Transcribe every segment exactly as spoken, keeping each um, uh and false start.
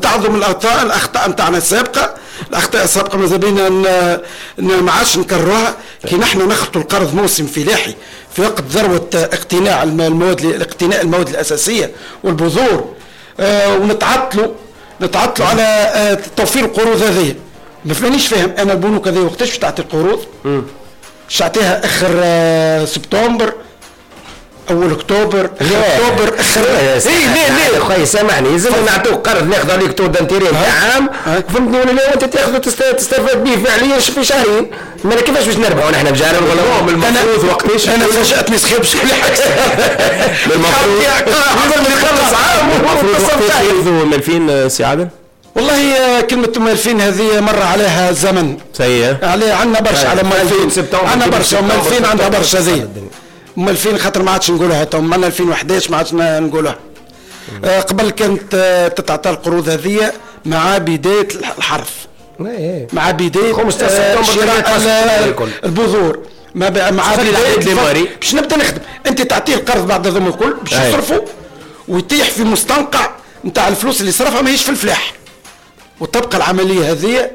نتعظوا من الاخطاء الاخطاء نتاعنا السابقة. الاخطاء السابقة ماذا بينا ما عادش نكرروها. كي نحن نخلطوا القرض موسم فلاحي في وقت ذروة اقتناع المواد، اقتناء المواد الاساسية والبذور، آه ونتعطلوا نتعطلوا على آه توفير القروض هذه. ما فمانيش فاهم انا البنوك هذه وقتاش تعطي القروض؟ باش تعطيها اخر آه سبتمبر، اول اكتوبر، اخر اكتوبر، اخر اي لا لا خويا سامحني، لازم نعطوك قرض ناخذ عليك taux d'intérêt نتاع عام، فهمتني ولا لا؟ وانت تاخذ تستفاد به فعليا في شهرين. ما كيفاش باش نربحوا نحن بجارنا ولا المفروض وقتاش؟ انا فاجاتني سخيب شكلي حكس المفروض نخلص عام. المفروض وقتاش ياخذوا مالفين سي عادل؟ والله كلمة مالفين هذه مر عليها الزمن سيء، عليها عندنا برشا على مالفين، عندنا برشا مالفين، عندها برشا زي ام ألفين خاطر ما عادش نقولها تو، من ألفين وحداش ما عادش نقولها. آه قبل كانت آه تتعطى القروض هذه مع بداية الحرث، مع بداية خمسة عشر سبتمبر البذور، مع بداية باش نبدا نخدم. انت تعطيه القرض بعد هذوما الكل باش يصرفوا ويطيح في مستنقع نتاع الفلوس اللي صرفها ماهيش في الفلاح. وتبقى العملية هذه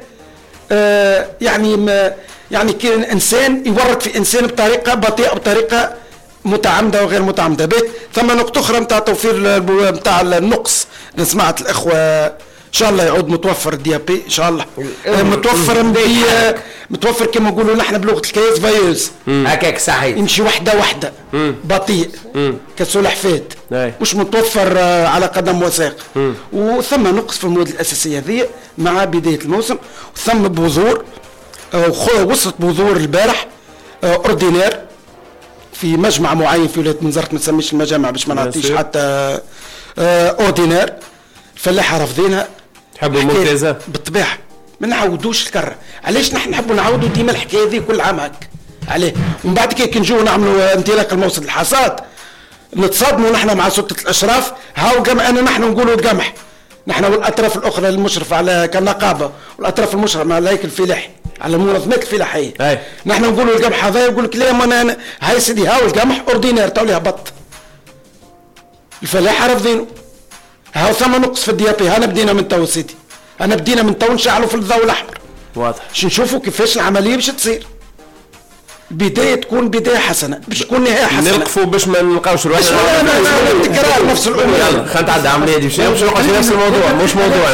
آه يعني ما يعني كان انسان يورط في انسان بطريقة بطيئه، بطريقة متعمدة وغير متعمدة. به ثم نقطة اخرى نتاع توفير نتاع النقص اللي سمعت الاخوة، ان شاء الله يعود متوفر ال DAP ان شاء الله متوفر مدي متوفر كما نقولوا نحن بلغه الكياس veilleuse هكاك صحيح، يمشي وحده وحده بطيء كسلحفات، مش متوفر على قدم وساق. وثم نقص في المواد الاساسية هذه مع بداية الموسم. وثم بذور، وصلت بذور البارح ordinaire في مجمع معين في ولاية بنزرت، ما نسميش المجامع باش ما نعطيش حتى ordinaire. الفلاحة رافضينها، تحبوا ممتازة بالطبيعة. ما نعاودوش الكره. علاش نحن نحبوا نعاودوا ديما الحكاية هذه كل عام هكا؟ عليه ومن بعد كي نجيو نعملوا انطلاق الموسم الحصاد نتصادموا نحن مع سلطة الاشراف. هاو قمح، انا نحن نقولوا القمح نحن والاطراف الاخرى المشرفة على كالنقابه والاطراف المشرفة على الهيكل الفلاحي على المنظمات الفلاحية، نحن نقولوا القمح هذا، يقول لك لا ما انا هاي سيدي هاو القمح ordinaire تو هبط. الفلاحة رافضينه. هاو ثم نقص في ال DAP. انا بدينا من تو سيدي، انا بدينا من تو نشعلوا في الضوء الاحمر واضح باش نشوفوا كيفاش العملية باش تصير. بداية تكون بداية حسنه باش تكون نهاية حسنه، نلقفوا باش ما نلقاوش روحنا تكرار نفس الامور. يلا خلينا نتعدى عملية دي باش نقعد في نفس الموضوع مش موضوع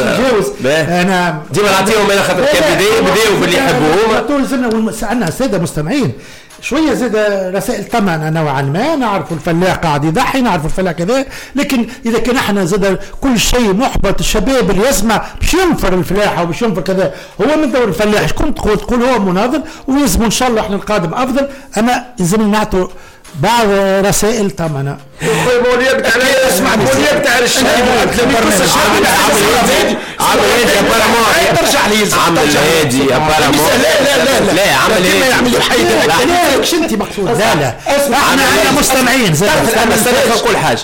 انا ديما نعطيهم انا خاطر كان بداية بداوا باللي يحبوا هما. طول زلنا عندنا ساده مستمعين شوية زاد رسائل طمأنة نوعا ما، نعرفوا الفلاح قاعد يضحي، نعرفوا الفلاح كذا، لكن اذا كان احنا زاد كل شيء محبط، الشباب اللي يسمع باش ينفر الفلاحة وباش ينفر كذا، هو من دور الفلاح شكون تقول تقول هو مناضل ويلزم ان شاء الله احنا القادم افضل. اما لازم نعطوا بعض رسائل طمأنة. اسمع تاع الشباب عمل هادي apparemment ترجع لي عمل هادي apparemment. لا لا لا لا عمل هادي يعمل حيد لا مش انت مقصود. لا لا احنا عندنا مستمعين زاد. استنى نقول حاجة.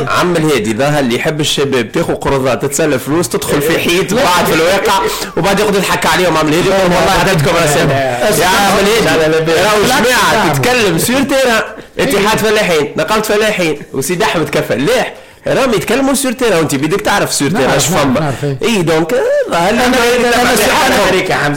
عم الهادي ظهر اللي يحب الشباب تاخذ قروضات تتسلى فلوس تدخل في حيط بعد في الواقع وبعد يقعد يضحك عليهم. عم الهادي يقول والله عطيتكم رسائل يا عم الهادي. راهو جماعة تتكلم sur terrain، اتحاد فلاحين، نقابة فلاحين، وسيد احمد كفلاح راهم يتكلموا sur terrain، وانت بدك تعرف sur terrain اش فما. اي donc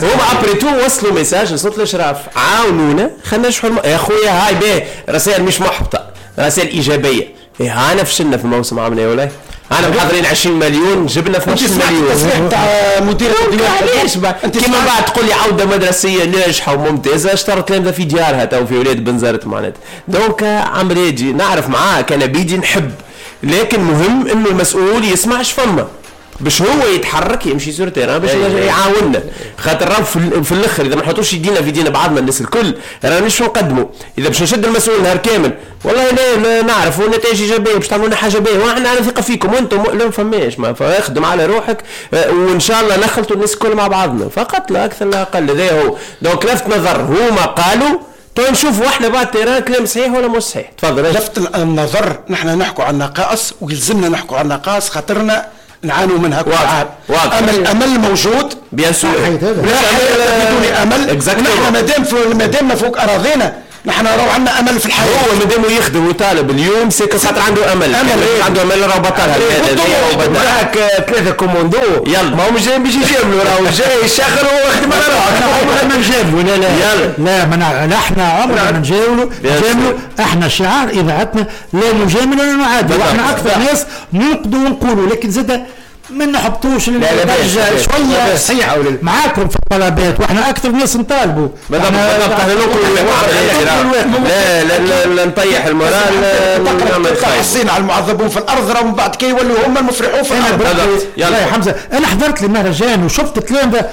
هما après tout وصلوا message لصوت الاشراف، عاونونا خلينا نشحوا يا خويا. هاي باهي رسائل مش محبطة، رسائل ايجابية. إيه هانا فشلنا في الموسم عامنا ولا انا محضرين عشرين مليون جبنا اثناش مليون. تاع مدير الديوان علاش كيما بعد تقول لي عوده مدرسيه ناجحة وممتازة اشترت تلامذه في ديارها تو في ولاد بنزرت معناتها. donc عمريجي نعرف معاك انا بيدي نحب، لكن مهم انه المسؤول يسمعش فما باش هو يتحرك يمشي sur terrain باش يعاوننا، خاطر راه في, في الاخر اذا ما نحطوش يدينا في يدينا بعضنا الناس الكل رانا مش نقدموا. اذا باش نشد المسؤول نهار كامل والله لا نعرفوا نتائج ايجابية باش تعملوا لنا حاجة باهيه واحنا على ثقة فيكم وانتم لا فماش ما فاخدم على روحك وان شاء الله نخلطوا الناس الكل مع بعضنا فقط لا اكثر لا اقل. هذا هو donc لفت نظر هما قالوا تو نشوفوا احنا بعد terrain كلام صحيح ولا مش صحيح. تفضل. لفت النظر نحن نحكوا عن نقائص ويلزمنا نحكوا عن نقائص خاطرنا نعانوا منها كل عام. امل امل موجود bien sûr، لا حياة بدون امل. نحن مادام مادامنا فوق اراضينا نحن راهو عندنا امل في الحياة. هو مادام يخدم ويطالب اليوم c'est que خاطر عنده امل، امل عنده امل راهو بطلها. معاك ثلاثة كوموندو يلا ما هم جايين باش يجاملوا، راهو جاي يشغل ويخدم على روحه. عمرنا ما نجاملوا، لا لا لا ما نحن عمرنا ما نجاملوا نجاملوا. احنا شعار اذاعتنا لا نجامل ولا نعادل، واحنا اكثر ناس ننقدوا ونقولوا، لكن زاد ما نحبطوش للدرجة شوية صحيحه معاكم في الطلبات، واحنا اكثر ناس نطالبوا. بالضبط احنا نقولوا لا لا لا نطيح ال moral. حسينا على المعذبون في الارض راهم من بعد كي يولوا هم المفرحون في الارض. يلا يا حمزة، انا حضرت المهرجان وشفت تلامذه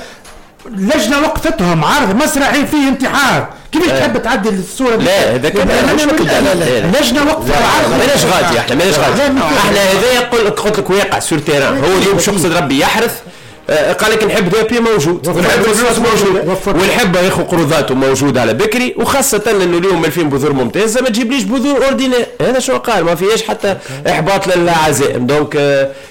لجنة وقفتهم عرض مسرحي فيه انتحار، كيفاش تحب تعدل الصورة؟ لا هذاك لجنة وقفه عرض. ماناش غادي احنا، ماناش غادي احنا. هذايا قلت لك واقع sur terrain. هو اليوم شو قصد ربي يحرث، قال لك نحب D A P موجود، ونحب فلوس موجود، ونحب ياخذ قروضاته موجود على بكري، وخاصة انه اليوم ألفين بذور ممتازة ما تجيبليش بذور ordinaire. هذا شو قال، ما فيهاش حتى احباط للعزائم. donc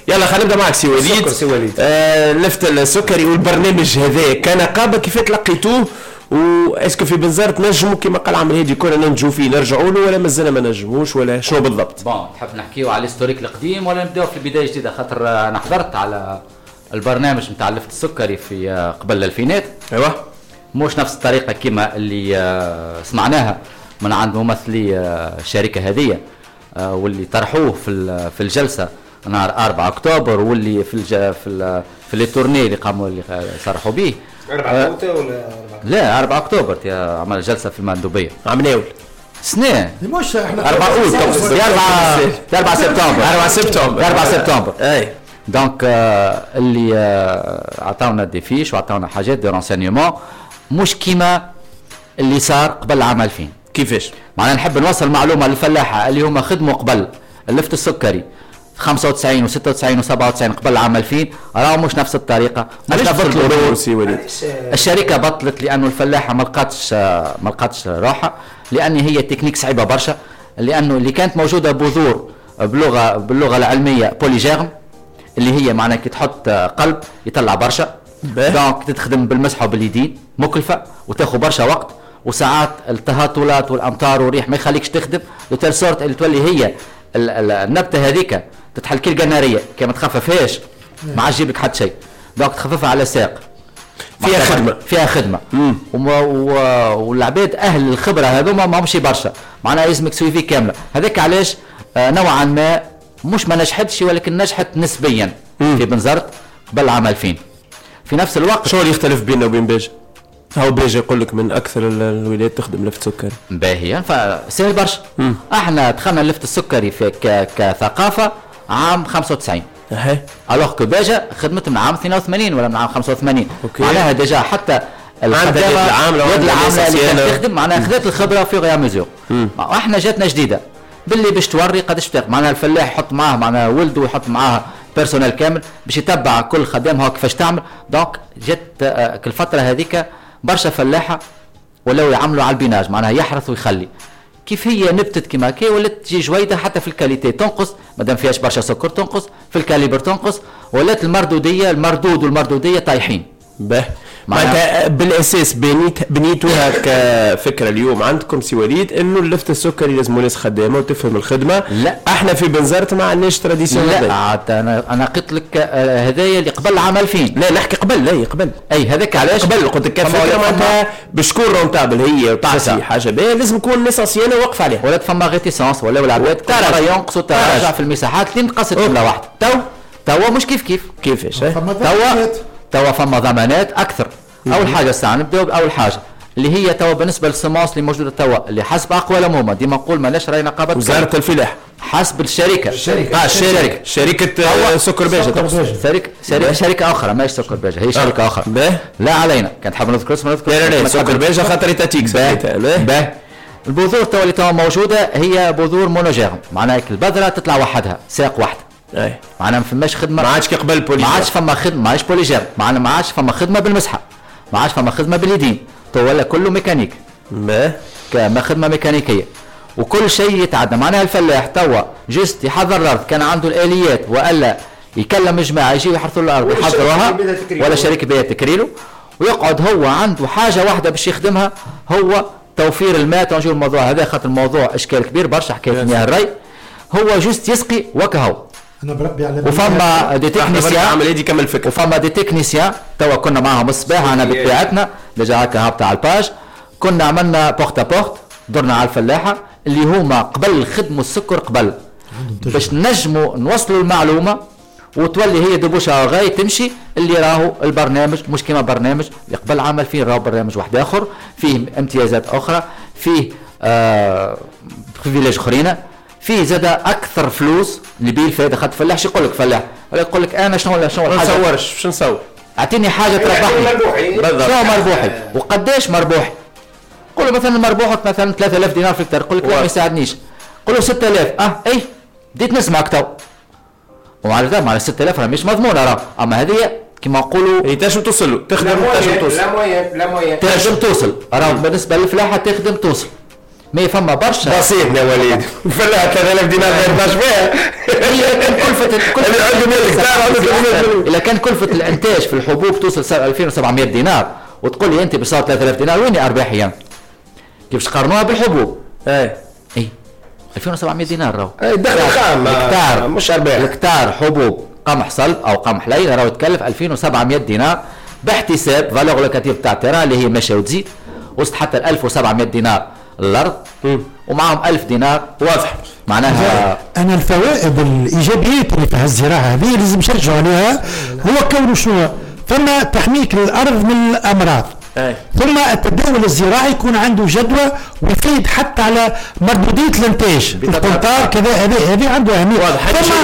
يلا خلينا نبدا معك سي وليد. سي وليد آه لفت السكري والبرنامج هذا كنقابه كيف تلقيتوه؟ و est-ce que في بنزرت نجموا كما قال عمرو هادي كنا ننجو فيه نرجعوا له ولا مازلنا ما نجموش ولا شنو بالضبط؟ bon تحب نحكيو على ال historique القديم ولا نبداو في البداية الجديدة؟ خاطر انا حضرت على البرنامج نتاع اللفت السكري في قبل الألفينات. ايوه مش نفس الطريقة كما اللي سمعناها من عند ممثلي الشركة هذه واللي طرحوه في في الجلسة نهار أربعة أكتوبر، واللي في الج... في في les tournées اللي قاموا اللي صرحوا به. أربعة أكتوبر ولا لا أربعة أكتوبر عمل جلسه في المندوبيه عمناول سنة مش احنا أربعة أوت أربعة سبتمبر أربعة سبتمبر أربعة سبتمبر اي. donc اللي عطاونا des fiches وعطاونا حاجات de renseignements مش كيما اللي صار قبل عام ألفين. كيفاش؟ معناها نحب نوصل معلومة للفلاحه اللي هما خدموا قبل اللفت السكري خمسة وتسعين وستة وتسعين وسبعة وتسعين قبل عام ألفين، راهو مش نفس الطريقة، مش نفس الظروف. الشركة بطلت لانه الفلاحة ما لقاتش ما لقاتش روحها، لان هي تكنيك صعيبة برشا، لانه اللي كانت موجودة بذور بلغه باللغة العلمية polygerme اللي هي معناها كي تحط قلب يطلع برشا، donc تتخدم بالمسحه وباليدين، مكلفة وتاخذ برشا وقت، وساعات التهاطلات والامطار والريح ما يخليكش تخدم de telle sorte اللي تولي هي النبتة هذيك تتحل كي القناريه، كي ما تخففهاش ما عادش يجيب لك حتى شيء، donc تخففها على ساق فيها خدمة فيها خدمة. والعباد اهل الخبرة هذوما ما همش برشا، معناها لازمك suivi كاملة. هذاك علاش نوعا ما مش ما نجحتش، ولكن نجحت نسبيا في بنزرت قبل عام ألفين. في نفس الوقت شو اللي يختلف بيننا وبين باجة؟ هاو باجة يقول لك من اكثر الولايات تخدم لفت سكري. باهيا فسهل برشا. احنا دخلنا اللفت السكري في ك... كثقافه عام خمسة وتسعين. اها alors que باجة خدمت من عام اثنين وثمانين ولا من عام خمسة وثمانين. معناها déjà حتى الخدامة العاملة يد العاملة اللي كانت تخدم معناها خذت الخبرة في غير mesure. واحنا جاتنا جديدة باللي باش توري قداش تاخذ، معناها الفلاح يحط معاه معناها ولده ويحط معاه personnel كامل باش يتبع كل خدام هو كيفاش تعمل. donc جات الفترة هذيك برشا فلاحة ولاو يعملوا على ال binage، معناها يحرث ويخلي. كيف هي نبتت كيما كي ولات تجي جويده حتى في ال qualité تنقص، مادام فيهاش برشا سكر تنقص، في ال calibre تنقص، ولات المردوديه المردود والمردوديه طايحين. به معناتها بالاساس بنيت بنيتوها كفكرة اليوم عندكم سي وليد انه اللفت السكري لازم ناس خدامه وتفهم الخدمة. لا احنا في بنزرت ما عندناش tradition. لا عاد انا انا قلت لك هذايا اللي قبل عام ألفين. لا نحكي قبل، لا قبل اي هذاك علاش قبل قلت لك كفكرة معناتها باش تكون rentable هي وتعطي حاجة باهيه لازم يكون الناس ancienne واقفة عليها. ولات فما réticence ولا العباد ترى ينقصوا تراجع في المساحات اللي نقصت جملة واحدة. تو توا مش كيف كيف كيفاش توا توا فما ضمانات اكثر. اول حاجة الساعة نبداو باول حاجة اللي هي توا بالنسبة لل semences اللي موجودة توا اللي حسب اقوالهم هما ديما نقول ماناش راي نقابة وزارة الفلاح حسب الشركة الشركة اه الشركة شركة سكر باجه شركة شركة شركة اخرى ماهيش سكر باجه هي شركة اخرى. باه لا علينا كان تحب نذكر اسمها نذكر. لا لا لا سكر باجه خاطر étatique. باه البذور توا اللي توا موجودة هي بذور monogerme، معناها البذرة تطلع وحدها ساق واحدة. اي معناها ما فماش خدمة ما عادش كقبل polygerme، ما عادش فما خدمة ما عادش polygerme، معناها ما عادش فما خدمة بالمسحه، ما عادش فما خدمة باليدين، تو ولا كله ميكانيك. ما كما خدمة ميكانيكية وكل شيء يتعدى. معناها الفلاح توا juste يحضر الارض كان عنده الاليات والا يكلم جماعة يجيو يحرثوا الارض يحضروها ولا شركة بيها تكريله، ويقعد هو عنده حاجة واحدة باش يخدمها هو توفير الماء تنجيو الموضوع هذا خاطر الموضوع اشكال كبير برشا حكاية مياه الري هو juste يسقي وكهو. انا بربي على وفما des techniciens عمل يدي كمل فكرة وفما des techniciens توا كنا معاهم الصباح انا بطبيعتنا déjà هكا هابطة على ال page كنا عملنا porte à porte درنا على الفلاحة اللي هما قبل خدموا السكر قبل باش نجموا نوصلوا المعلومة وتولي هي de bouche à oreille تمشي اللي راهو البرنامج مش كيما برنامج اللي قبل عمل فيه راهو برنامج واحد اخر فيه امتيازات اخرى فيه آه privilèges اخرين فيه زاد اكثر فلوس اللي بيه الفائدة خاطر فلاح شو يقول لك فلاح ولا يقول لك انا شنو شنو الحاجة ما نصورش باش نصور اعطيني حاجة تربحني شنو مربوحي وقداش مربوحي قول له مثلا مربوحك مثلا ثلاثة آلاف دينار في الهكتار يقول لك لا ما يساعدنيش قول له ستة آلاف اه اي بديت نسمعك تو وعلى ذا على ستة آلاف راه مش مضمونه راه اما هذه كما نقولوا اي تنجم توصل له تخدم تنجم توصل la moyenne la moyenne تنجم توصل راه بالنسبة للفلاحه تخدم توصل mais فما برشا بسيط يا وليد الفلاحة ثلاثة آلاف دينار ما يرضاش فيها هي كان كلفه كلفه اذا كان كلفه الانتاج في الحبوب توصل ألفين وسبعمية دينار وتقول لي انت باش ثلاثة آلاف دينار وين ارباحي يعني كيفاش قارنوها بالحبوب اي اي ألفين وسبعمية دينار راهو اي دخل خام الهكتار مش ارباح الهكتار حبوب قمح صلب او قمح ليل راهو يتكلف ألفين وسبعمية دينار باحتساب valeur locative تاع terrain اللي هي ماشية وتزيد وصلت حتى ألف وسبعمية دينار الارض ومعهم ألف دينار واضح معناها انا الفوائد الايجابيات اللي في الزراعة هذه لازم نشجعوا عليها هو كونه شنو ثم تحميك للارض من الامراض أي. ثم التداول الزراعي يكون عنده جدوى ويفيد حتى على مردوديه الانتاج القنطار كذا هذه هذه عنده اهمية واضح. ثم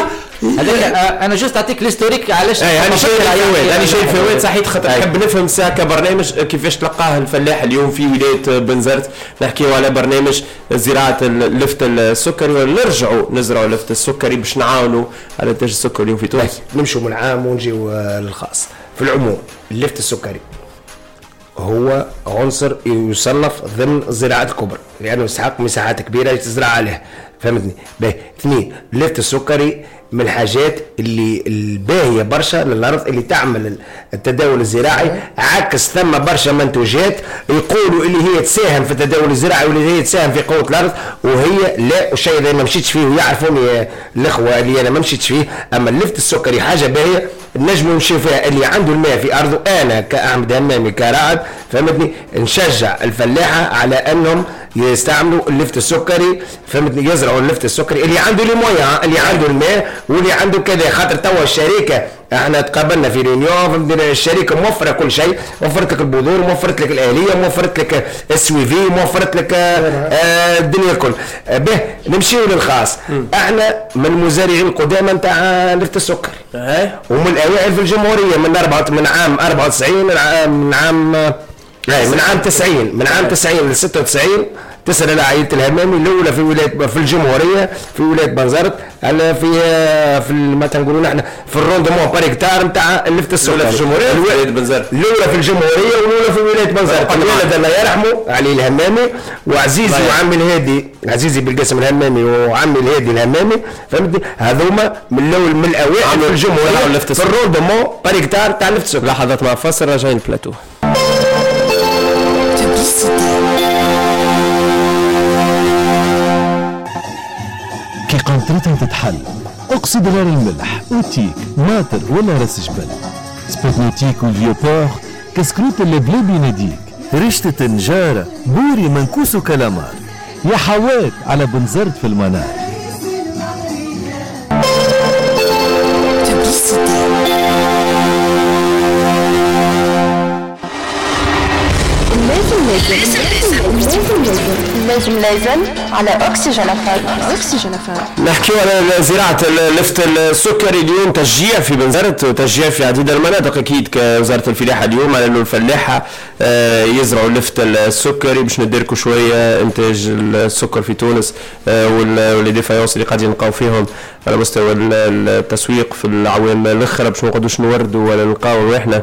هذاك انا juste اعطيك l'historique علاش اي انا شيء الفوائد انا شيء الفوائد صحيح خاطر نحب نفهم ساعة كبرنامج كيفاش تلقاه الفلاح اليوم في ولاية بنزرت نحكيو على برنامج زراعة اللفت السكري ونرجعوا نزرعوا اللفت السكري باش نعاونوا على انتاج السكر اليوم في تونس. نمشوا من العام ونجيو للخاص. في العموم اللفت السكري هو عنصر يصنف ضمن الزراعات الكبرى لانه يستحق مساحات كبيرة تزرع عليها فهمتني. باهي اثنين اللفت السكري من الحاجات اللي الباهيه برشا للارض اللي تعمل التداول الزراعي عكس ثم برشا منتوجات يقولوا اللي هي تساهم في التداول الزراعي واللي هي تساهم في قوة الارض وهي لا والشيء اللي ما مشيتش فيه ويعرفوني الاخوة اللي انا ما مشيتش فيه. اما اللفت السكري حاجة باهيه نجموا نمشيو فيها اللي عنده الماء في ارضه. انا كأحمد همامي كراعد فهمتني نشجع الفلاحة على انهم يستعملوا اللفت السكري فهمتني يزرعوا اللفت السكري اللي عنده les moyens اللي عنده الماء واللي عنده كذا خاطر توا الشركة احنا تقابلنا في réunion فهمتني الشركة موفره كل شيء وفرت لك البذور موفرت لك الالية موفرت لك ال suivi موفرت لك آه الدنيا الكل. به نمشيو للخاص. احنا من المزارعين القدامى نتاع لفت السكري ومن الاوائل في الجمهورية من أربعة من عام أربعة وتسعين من عام اي من عام تسعين من عام تسعين ل ستة وتسعين تسأل على عائلة الهمامي الأولى في ولاية في الجمهورية في ولاية بنزرت على في في ما تنقولوا نحن في ال rendement par hectare نتاع اللفت السكري. الأولى في الجمهورية في ولاية بنزرت الأولى في الجمهورية والأولى في ولاية بنزرت. الوالد الله يرحمه علي الهمامي وعزيزي وعمي الهادي عزيزي بالقاسم الهمامي وعمي الهادي الهمامي فهمتني هذوما من الأول من الأوائل في الجمهورية في ال rendement par hectare تاع اللفت السكري. لحظات مع فاصل راجعين البلاتو. كي قنطرتها تتحل اقصد غير الملح اوتيك ماطر ولا راس جبل spot nautique وال Vieux-Port كسكروت اللبلابي يناديك رشتة نجارة بوري منكوس وكلامار يا حوات على بنزرت في المنار. لازم لازم لازم لازم لازم على أكسجين أفار. أكسجين أفار. نحكيو على زراعة اللفت السكري اليوم تشجيع في بنزرت وتشجيع في عديد المناطق أكيد كوزارة الفلاحة اليوم على أنه الفلاحة يزرعوا اللفت السكري باش نديركوا شوية إنتاج السكر في تونس و les défaillances اللي قاعدين نلقاو فيهم على مستوى التسويق في العوام الأخرى باش ما نقعدوش نوردوا ولا نلقاو روحنا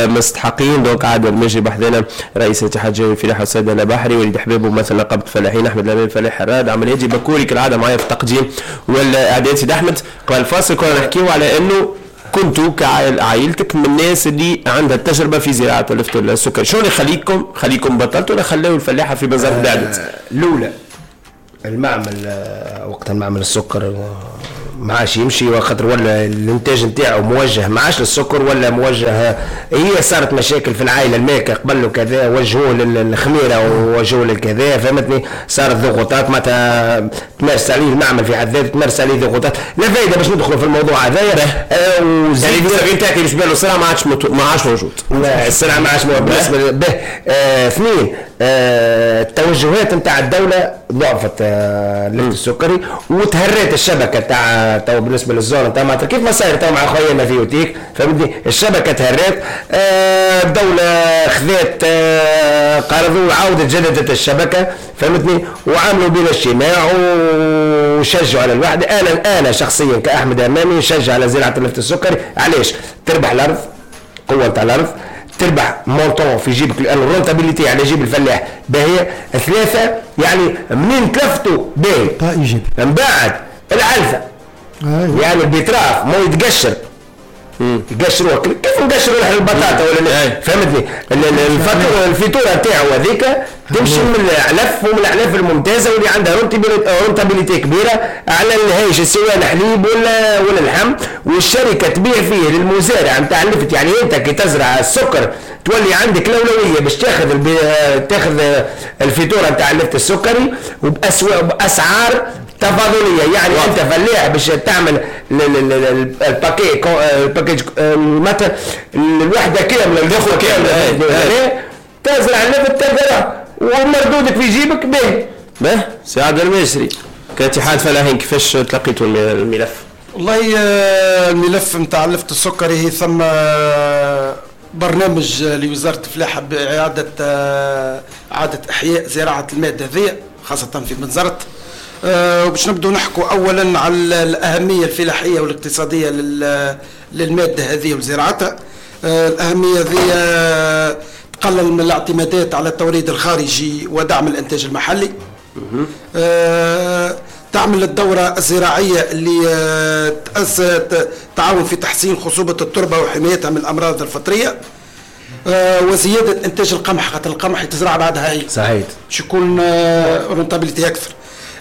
مستحقين. donc عاد الماجي بحذانا رئيس الاتحاد الجهوي للفلاحة السيد البحري وليد حبيب ممثل نقابة الفلاحين أحمد الأمين فلاح حراد عمل هادي بكوري كالعادة معايا في التقديم والإعداد. سيد أحمد قبل الفاصل كنا نحكيو على أنه كنتوا كعائلتك من الناس اللي عندها التجربة في زراعة اللفت السكري، شنو اللي خليكم خليكم بطلتوا ولا خلاو الفلاحة في بنزرت بعدت؟ الاولى المعمل، وقت المعمل السكر ما عادش يمشي، وخاطر ولا الانتاج نتاعو موجه ما عادش للسكر ولا موجه. هي صارت مشاكل في العائلة المالكة قبل وكذا، وجهوه للخميره ووجهوه للكذا، فهمتني؟ صارت ضغوطات معناتها تمارس عليه المعمل في حد ذاته، تمارس عليه ضغوطات لا فايده باش ندخلوا في الموضوع هذايا. وزيد يعني نتاعك باش بالو السلعة ما عادش ما عادش موجود، لا السلعة ما عادش موجود بالنسبة به. اثنين، آه التوجهات نتاع الدولة ضعفت آه اللفت السكري وتهرت الشبكة تاع تو بالنسبة لل zone نتاع معناتها كيف ما صاير تو مع خويا في اوتيك، فهمتني؟ الشبكة تهرت، آه الدولة خذات آه قرض وعاودت جددت الشبكة، فهمتني؟ وعملوا بنا اجتماع وشجعوا على الوحدة. انا انا شخصيا كاحمد امامي نشجع على زراعة اللفت السكري. علاش؟ تربح الارض، قوة نتاع الارض، تربح montant في جيبك لان ال rentabilité على جيب الفلاح باهيه. ثلاثة يعني منين تلفتوا باهي، من بعد العلفه أيوة. يعني ال betterave ما يتقشر، يقشروه كيف نقشروا نحن البطاطا ولا فهمتني؟ الفيتوره نتاعو هذيك تمشي من العلف ومن الأعلاف الممتازة واللي عندها rentabilité كبيرة على الهايش سواء الحليب ولا ولا اللحم، والشركة تبيع فيه للمزارع نتاع اللفت. يعني انت كي تزرع السكر تولي عندك الاولوية باش تاخذ البي... تاخذ الفيتوره نتاع اللفت السكري وبأسواق باسعار تفاضليه. يعني واو. انت فلاح باش تعمل ال paquet ال package مثلا الوحدة كاملة الدخلة كاملة تزرع اللفت تزرع ومردودك في جيبك به. به سي عبد المجري كاتحاد فلاحين كيفاش تلقيتوا الملف؟ والله الملف نتاع اللفت السكري هي ثم برنامج لوزارة الفلاحة باعادة اعاده احياء زراعة المادة هذه خاصة في بنزرت. وباش نبدو نحكوا اولا على الاهمية الفلاحية والاقتصادية للمادة هذه وزراعتها. الاهمية هذه تقلل من الاعتمادات على التوريد الخارجي ودعم الانتاج المحلي. أه تعمل الدورة الزراعية اللي تعاون في تحسين خصوبة التربة وحمايتها من الأمراض الفطرية، أه وزيادة إنتاج القمح خاطر القمح يتزرع بعدها هي صحيح باش يكون rentabilité أكثر.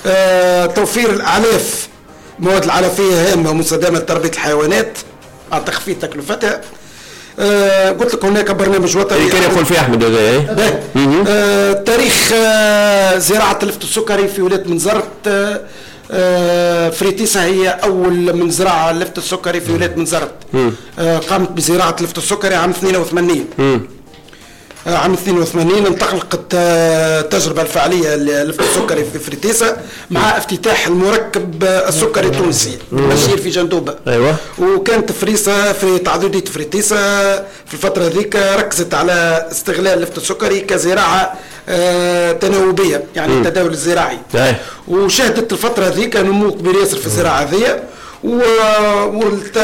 أه توفير الأعلاف، المواد العلفية هامة ومستدامة لتربية الحيوانات مع تخفيض تكلفتها. آه قلت لك هناك برنامج وطني كان يقول فيه احمد هذا. آه تاريخ آه زراعة اللفت السكري في ولاية بنزرت، آه آه فريتيسا هي اول من زرع اللفت السكري في ولاية بنزرت. آه قامت بزراعه اللفت السكري عام اثنين وثمانين. آه عام اثنين وثمانين انطلقت التجربة الفعلية للفت السكري في فريتيسا مع افتتاح المركب السكري التونسي بشير في جندوبه. ايوه. وكانت فريسة في تعددية فريتيسا في الفترة هذيك ركزت على استغلال اللفت السكري كزراعه آه تناوبيه، يعني مم. التداول الزراعي. أيه. وشهدت الفترة هذيك نمو كبير ياسر في الزراعة هذه،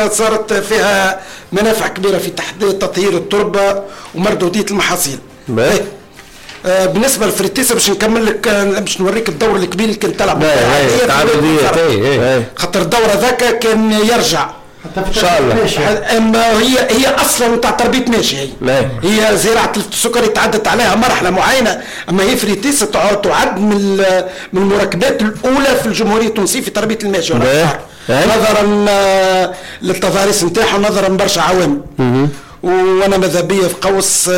وصارت فيها منافع كبيرة في تحديد تطهير التربة ومردوديه المحاصيل. آه بالنسبة للفريتيسا باش نكمل لك باش نوريك الدور الكبير اللي كان تلعب خاطر الدور هذاك كان يرجع ان شاء الله. اما هي هي اصلا تاع تربيه ماشي، هي هي زراعة السكري تعدت عليها مرحلة معينة، اما هي فريتيسا تعد من من المركبات الاولى في الجمهورية التونسية في تربيه الماشي نظرا للتضاريس نتاعها ونظرا برشا عوامل. وانا ماذا بيا في قوس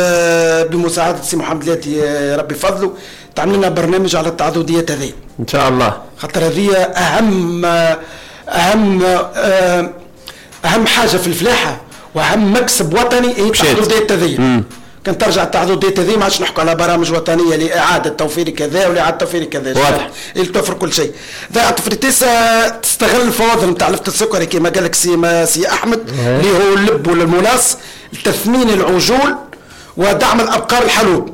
بمساعدة سي محمد لاتي ربي فضله تعمل لنا برنامج على التعاضديات هذه ان شاء الله، خاطر هذه اهم اهم اهم حاجة في الفلاحة واهم مكسب وطني هي التعاضديات هذه. كان ترجع التعاضديات هذه ما عادش نحكوا على برامج وطنية لاعادة توفير كذا ولاعاده توفير كذا، واضح اللي توفر كل شيء. زراعة فريتيسا تستغل الفواضل نتاع لفت السكري كما قال لك سي سي احمد اللي هو اللب ولا ال mélasse لتثمين العجول ودعم الابقار الحلوب.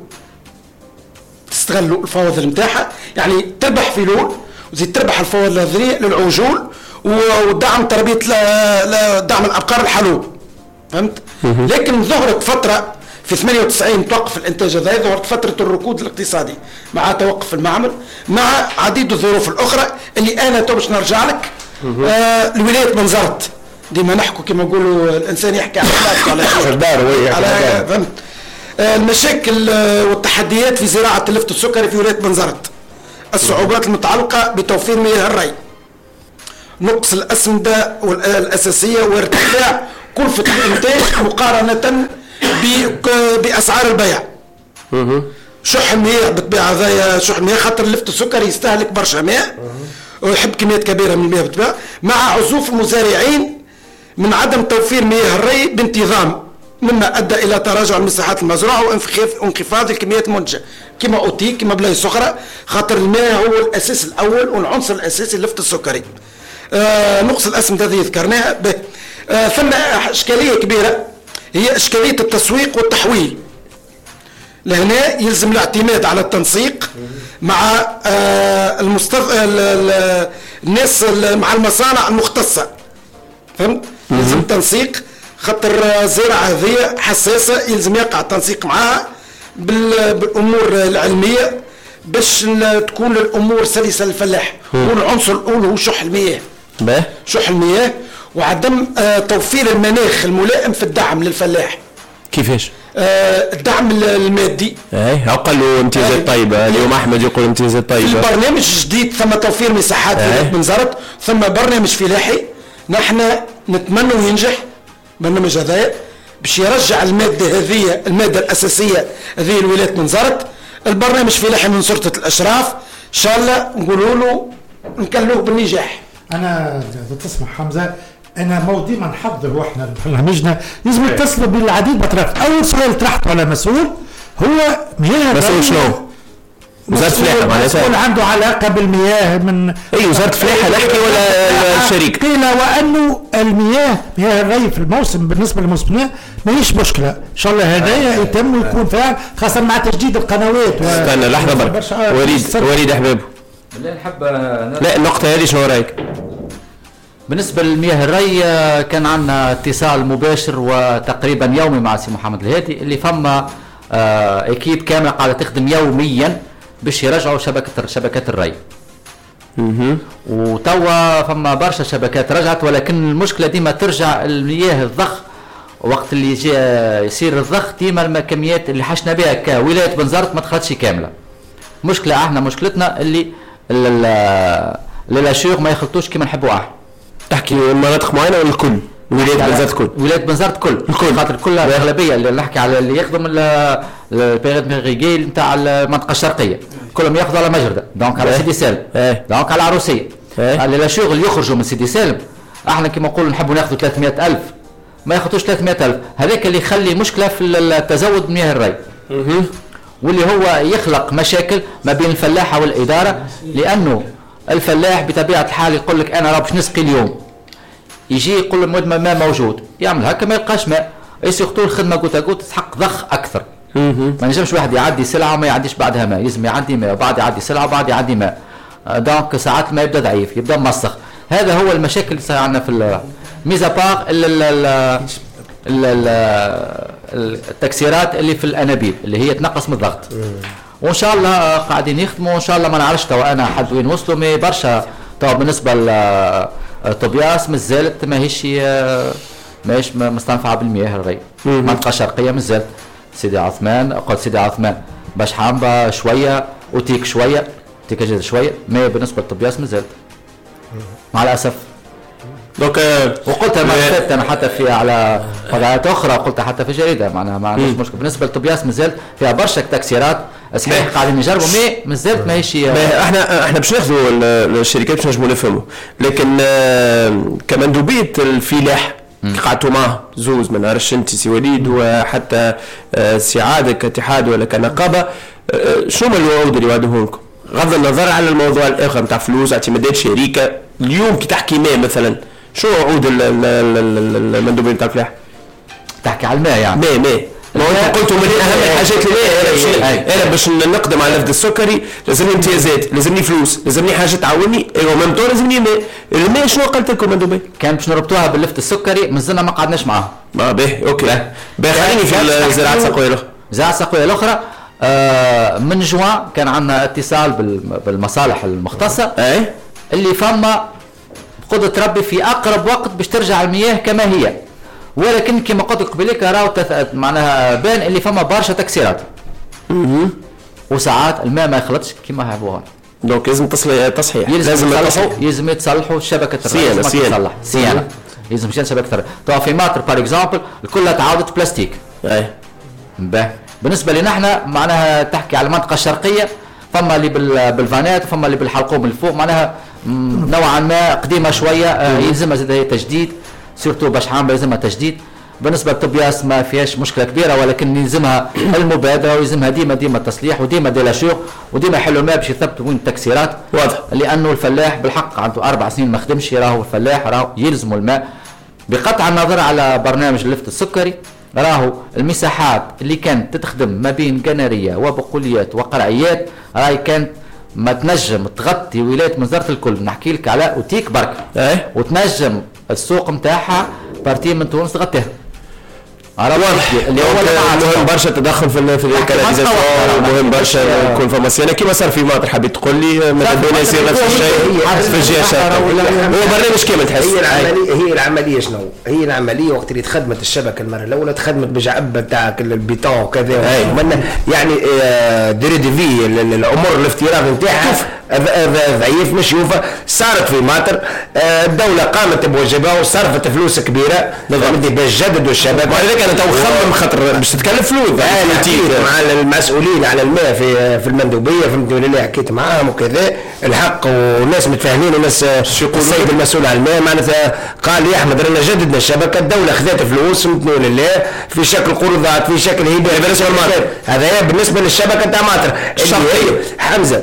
تستغلوا الفواضل نتاعها، يعني تربح في لول وزيد تربح الفواضل هذه للعجول ودعم تربيه دعم الابقار الحلوب، فهمت؟ لكن ظهرت فترة في ثمانية وتسعين توقف الانتاج هذا، ظهرت فترة الركود الاقتصادي مع توقف المعمل مع عديد الظروف الاخرى اللي انا تو باش نرجع لك. آه الولاية بنزرت ديما نحكوا كما نقولوا الانسان يحكي على على داره على فهمت. المشاكل والتحديات في زراعة اللفت السكري في ولاية بنزرت، الصعوبات المتعلقة بتوفير مياه الري، نقص الاسمده الاساسية وارتفاع كلفه الانتاج مقارنة باسعار البيع. شح المياه بالطبيعة هذايا شح المياه خاطر اللفت السكري يستهلك برشا ماء ويحب كميات كبيرة من المياه بالطبيعة، مع عزوف المزارعين من عدم توفير مياه الري بانتظام، مما ادى الى تراجع المساحات المزروعه وانخفاض الكميات المنتجة كما اوتي كما بلايص اخرى، خاطر الماء هو الاساس الاول والعنصر الاساسي للفت السكري. آه نقص الاسمده هذه ذكرناها. آه ثم اشكالية كبيرة هي اشكالية التسويق والتحويل. لهنا يلزم الاعتماد على التنسيق مع آه المستف... الناس مع المصانع المختصة، فهمت؟ يلزم تنسيق خاطر الزراعة هذه حساسة، يلزم يقع التنسيق معها بالامور العلمية باش تكون الامور سلسه للفلاح. والعنصر الاول هو شح المياه. شح المياه وعدم آه توفير المناخ الملائم في الدعم للفلاح. كيفاش؟ آه الدعم المادي. اي قالوا امتيازات طيبة، اليوم احمد يقول امتيازات طيبة. في برنامج جديد ثم توفير مساحات في بنزرت، ثم برنامج فلاحي نحن نتمنى ينجح برنامج هذايا باش يرجع المادة هذه المادة الاساسية هذه لولاية بنزرت. البرنامج فلاحي من سلطة الاشراف ان شاء الله نقولوا له نكلوه بالنجاح. انا تسمح حمزة، انا مو ديما نحضر واحنا برنامجنا لازم نتصلوا بالعديد من الاطراف. اول سؤال طرحته على مسؤول هو مياه مسؤول شنو؟ وزارة الفلاحة معناتها مسؤول عنده علاقة بالمياه من اي وزارة الفلاحة نحكي ولا الشريك؟ قيل وانه المياه مياه الري في الموسم بالنسبة للموسم ماهيش مشكلة، ان شاء الله هذايا يتم ويكون فعال خاصة مع تجديد القنوات. و... استنى لحظة برك وليد وليد احبابه بالله نحب لا النقطة هذه شنو رايك؟ بالنسبة للمياه الري كان عندنا اتصال مباشر وتقريبا يومي مع سي محمد الهادي اللي فما équipe كاملة قاعدة تخدم يوميا باش يرجعوا شبكة شبكات الري. وتوا فما برشا شبكات رجعت، ولكن المشكلة ديما ترجع المياه الضخ وقت اللي يجي يصير الضخ ديما الكميات اللي حشنا بها كولايه بنزرت ما دخلتش كاملة. مشكلة احنا مشكلتنا اللي les hachures ما يخلطوش كيما نحبوا احنا. تحكي مناطق معينة ولا الكل؟ ولاية بنزرت كل؟ ولاية بنزرت كل الكل، خاطر كل الاغلبية اللي نحكي على اللي يخدم ال périmètre irrigué نتاع المنطقة الشرقية كلهم ياخذوا على مجرده، donc على سيدي سالم، donc على العروسيه. les hachures اللي يخرجوا من سيدي سالم احنا كيما نقولوا نحبوا ناخذوا ثلاثمائة ألف ما ياخذوش ثلاثمائة ألف، هذاك اللي يخلي مشكلة في التزود بمياه الري واللي هو يخلق مشاكل ما بين الفلاحة والادارة، لانه الفلاح بطبيعة الحال يقول لك انا راه باش نسقي اليوم، يجي يقول له ما موجود، يعمل هكا ما يلقاش ماء، surtout الخدمة goutte à goutte تسحق ضخ اكثر. ما نجمش واحد يعدي سلعه وما يعديش بعدها ماء، لازم يعدي ماء وبعد يعدي سلعه وبعد يعدي ماء، donc ساعات ما يبدا ضعيف يبدا مسخ. هذا هو المشاكل اللي صار عندنا في mis à part التكسيرات اللي في الانابيب اللي هي تنقص من الضغط. وان شاء الله قاعدين يخدموا، وان شاء الله ما نعرفش توا انا حد وين وصلوا، mais برشا توا بالنسبة لطبياس مازالت ماهيش ماهيش مستنفعه بالمياه الري. المنطقة الشرقية مازالت سيدي عثمان، قلت سيدي عثمان باش حامبه شوية وتيك شوية تيك جد شوية، mais بالنسبة لطبياس مازالت مع الاسف. donc وقلتها ما فاتت انا حتى في على قنوات اخرى، قلتها حتى في جريدة معناها ما عندناش مشكل. بالنسبة لطبياس مازالت فيها برشا تكسيرات صحيح قاعدين نجربوا، mais مازالت ماهيش. احنا احنا باش ناخذوا الشركات باش نجموا نفهموا، لكن كمندوبيه الفلاح قعدتوا معاه زوز ما نعرفش انت سي وليد وحتى سي عادل كاتحاد ولا كنقابه، شنو هما الوعود اللي وعدوهم لكم؟ غض النظر على الموضوع الاخر نتاع فلوس اعتمادات شركة، اليوم كي تحكي ماء مثلا شو وعود المندوبين نتاع الفلاح؟ تحكي على الماء يعني؟ ماء ماء ما انت قلتوا من اهم الحاجات الماء. انا باش نقدم على اللفت السكري لازمني امتيازات، لازمني فلوس، لازمني حاجة تعاوني، ايوا même temps لازمني ماء. الماء شنو قالت لكم مندوبين؟ كان باش نربطوها باللفت السكري مازلنا ما قعدناش معاه. اه باهي OK باهي، خليني في الزراعة السقويه الاخرى. الزراعة السقويه الاخرى آه من جوان كان عندنا اتصال بالمصالح المختصة. اي اللي فما قدرة ربي في اقرب وقت باش ترجع المياه كما هي، ولكن كما قلت لك قبليك راهو معناها بان اللي فما برشا تكسيرات وساعات الماء ما يخلطش كما حبوها. donc لازم تصحيح، لازم يتصلحوا، لازم يتصلحوا شبكة الري، لازم تصلح صيانة، لازم شبكة الري. تو في ماطر par exemple الكل تعاودت بلاستيك. اي باه بالنسبة لنا احنا معناها تحكي على المنطقة الشرقية فما اللي بالفانات وفما اللي بالحلقوم من الفوق، معناها نوعا ما قديمة شوية، يلزمها زاد تجديد، surtout باش عام يلزمها تجديد. بالنسبة للطبياس ما فيهاش مشكلة كبيرة، ولكن يلزمها المبادرة ويلزمها ديما ديما التصليح وديما des lâcheurs وديما يحلوا الماء باش يثبتوا وين التكسيرات. واضح، لانه الفلاح بالحق عنده اربع سنين ما خدمش، راهو الفلاح راهو يلزموا الماء. بقطع النظر على برنامج اللفت السكري، راهو المساحات اللي كانت تتخدم ما بين قناريه وبقوليات وقرعيات راهي كانت ما تنجم تغطي ولاية بنزرت الكل. نحكي لك على اوتيك برك، ايه؟ وتنجم السوق نتاعها partie من تونس تغطيها. واضح، اللي هو مهم برشا التدخل في في ال canalisation، مهم برشا يكون فما صيانة كيما صار في ماطر. حبيت تقول لي ماذا بينا يصير نفس الشيء في الجهة الشرقية؟ هو برنامج كامل تحس. هي العملية، هي العملية شنو؟ هي العملية وقت اللي تخدمت الشبكة المرة الاولى تخدمت بجعبه تاع البيتون وكذا، يعني durée de vie العمر الافتراضي نتاعها ضعيف مش يوفى. صارت في ماطر، الدولة قامت بواجبها وصرفت فلوس كبيرة باش جددوا الشبكة. ولذلك انا تو خمم خاطر باش تتكلف فلوس مع المسؤولين على الماء في في المندوبيه، فهمتني ولا لا؟ حكيت معاهم وكذا الحق، والناس متفاهمين، والناس السيد المسؤول على الماء معناتها قال يا احمد رانا جددنا الشبكة، الدولة خذت فلوس فهمتني ولا لا، في شكل قروضات في شكل هبه. بالنسبة للماطر هذا بالنسبة للشبكه تاع ماطر الشرقية. حمزة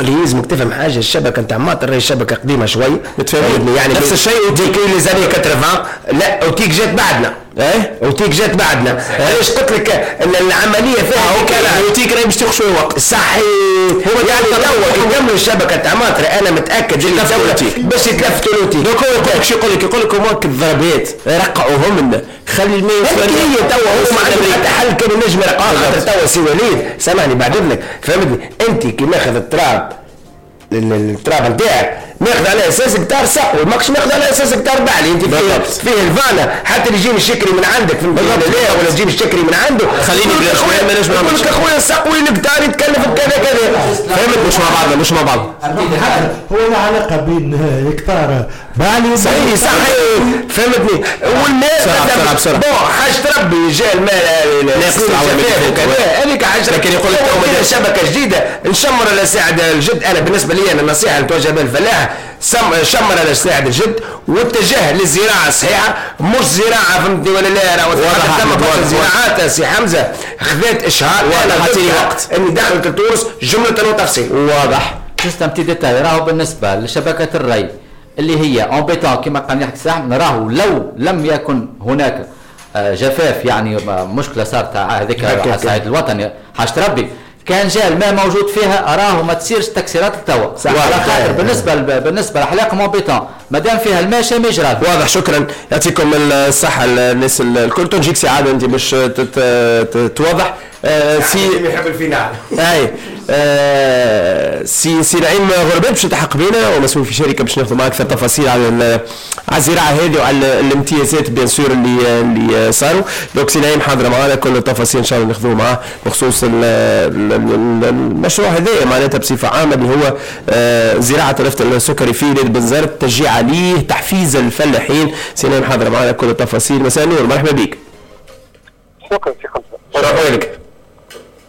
اللي يلزمك تفهم حاجة، الشبكة نتاع ماطر راهي شبكة قديمة شوي، متفاهمين يعني نفس الشيء اوتيك les années ثمانين، لا اوتيك جات بعدنا، ايه اوتيك جات بعدنا. علاش قلت لك ان العملية فيها آه اوتيك راهي باش تاخذ شوية وقت. صحيح، هو يعني توا يكملوا الشبكة تاع ماطر انا متاكد اللي الدولة باش يتلفتوا لوتيك. donc هو يقول لك شو يقول لك؟ يقول لك هما الضربات رقعوهم لنا، خلي الماء هي توا هو ما عنده حتى حل كان ينجم يرقعوها. خاطر توا سي وليد سامحني بعد اذنك، فهمتني انت كي ماخذ التراب التراب نتاعك ماخذ على اساس هكتار سقوي، ماكش ماخذ على اساس هكتار بعلي. انت فيه, فيه الفانا حتى اللي يجيني الشكري من عندك في لا ولا تجيب الشكري من عنده، خليني بلاش ما نجم نقول لك اخويا السقوي الهكتار يتكلف بكذا كذا، فهمت؟ مش مع بعضنا، مش مع بعض. هو لا علاقة بين هكتار بعلي صحيح صحيح، فهمتني؟ والماء بسرعة bon حاجة ربي جاء الماء ناقص وكذا، هذيك حاجة. لكن يقول لك شبكة جديدة نشمر على ساعد الجد. انا بالنسبة لي انا النصيحة اللي توجه بها الفلاح، شمر على ساعد الجد واتجه للزراعة الصحيحة، مش زراعة فهمتني ولا لا؟ راهو ثم برشا زراعات سي حمزة خذات اشهار، واضح وقت اني دخلت لتونس جملة وتفصيل. واضح. juste un petit détail، راهو بالنسبة لشبكه الري اللي هي en béton كما قال يحكي ساحم، راهو لو لم يكن هناك جفاف يعني مشكلة صارت هذيك على الصعيد الوطني حاجة ربي، كان جاء الماء موجود فيها راهو ما تصيرش تكسيرات التوا. على خاطر بالنسبة بالنسبة لحلاقه en béton مادام فيها الماء شيء ما يجرى. واضح، شكرا، يعطيكم الصحة الناس الكل. تنجيك سي عادل انت باش توضح سي يحب ال finale. اي آه سي سي نعيم غربان باش يلتحق بينا ومسؤول في شركة باش ناخذ معاه اكثر تفاصيل على على الزراعة هذه وعلى الامتيازات bien sûr اللي اللي صاروا. donc سي نعيم حاضر معنا كل التفاصيل ان شاء الله ناخذوه معاه بخصوص المشروع هذا معناتها بصفة عامة اللي هو آه زراعة اللفت السكري في ولاية بنزرت، تشجيع عليه، تحفيز الفلاحين. سي نعيم حاضر معنا كل التفاصيل. مساء النور، مرحبا بك. شكرا سي خمسة. شكرا لك.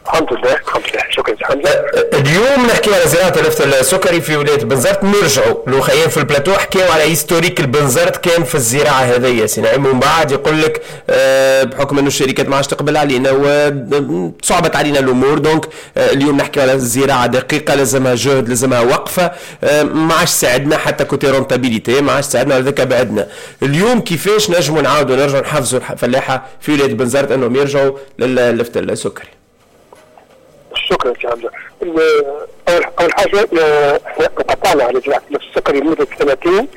الحمد لله الحمد لله، شكرا سي حمزة. اليوم نحكي على زراعة اللفت السكري في ولاية بنزرت. نرجعوا لوخيان في البلاتو حكاو على historique البنزرت كان في الزراعة هذيا سي نعيم، ومن بعد يقول لك آه بحكم انه الشركات ما عادش تقبل علينا وصعبت علينا الامور، donc آه اليوم نحكي على الزراعة دقيقة، لازمها جهد، لازمها وقفه، آه ما عادش ساعدنا حتى côté rentabilité ما عادش ساعدنا، ولذلك بعدنا. اليوم كيفاش نجموا نعاودوا نرجعوا نحفزوا الفلاحة في ولاية بنزرت انهم يرجعوا لللفت السكري؟ شكرا سي حمزة. اول اول حاجة احنا قطعنا على زراعة اللفت السكري لمدة سنتين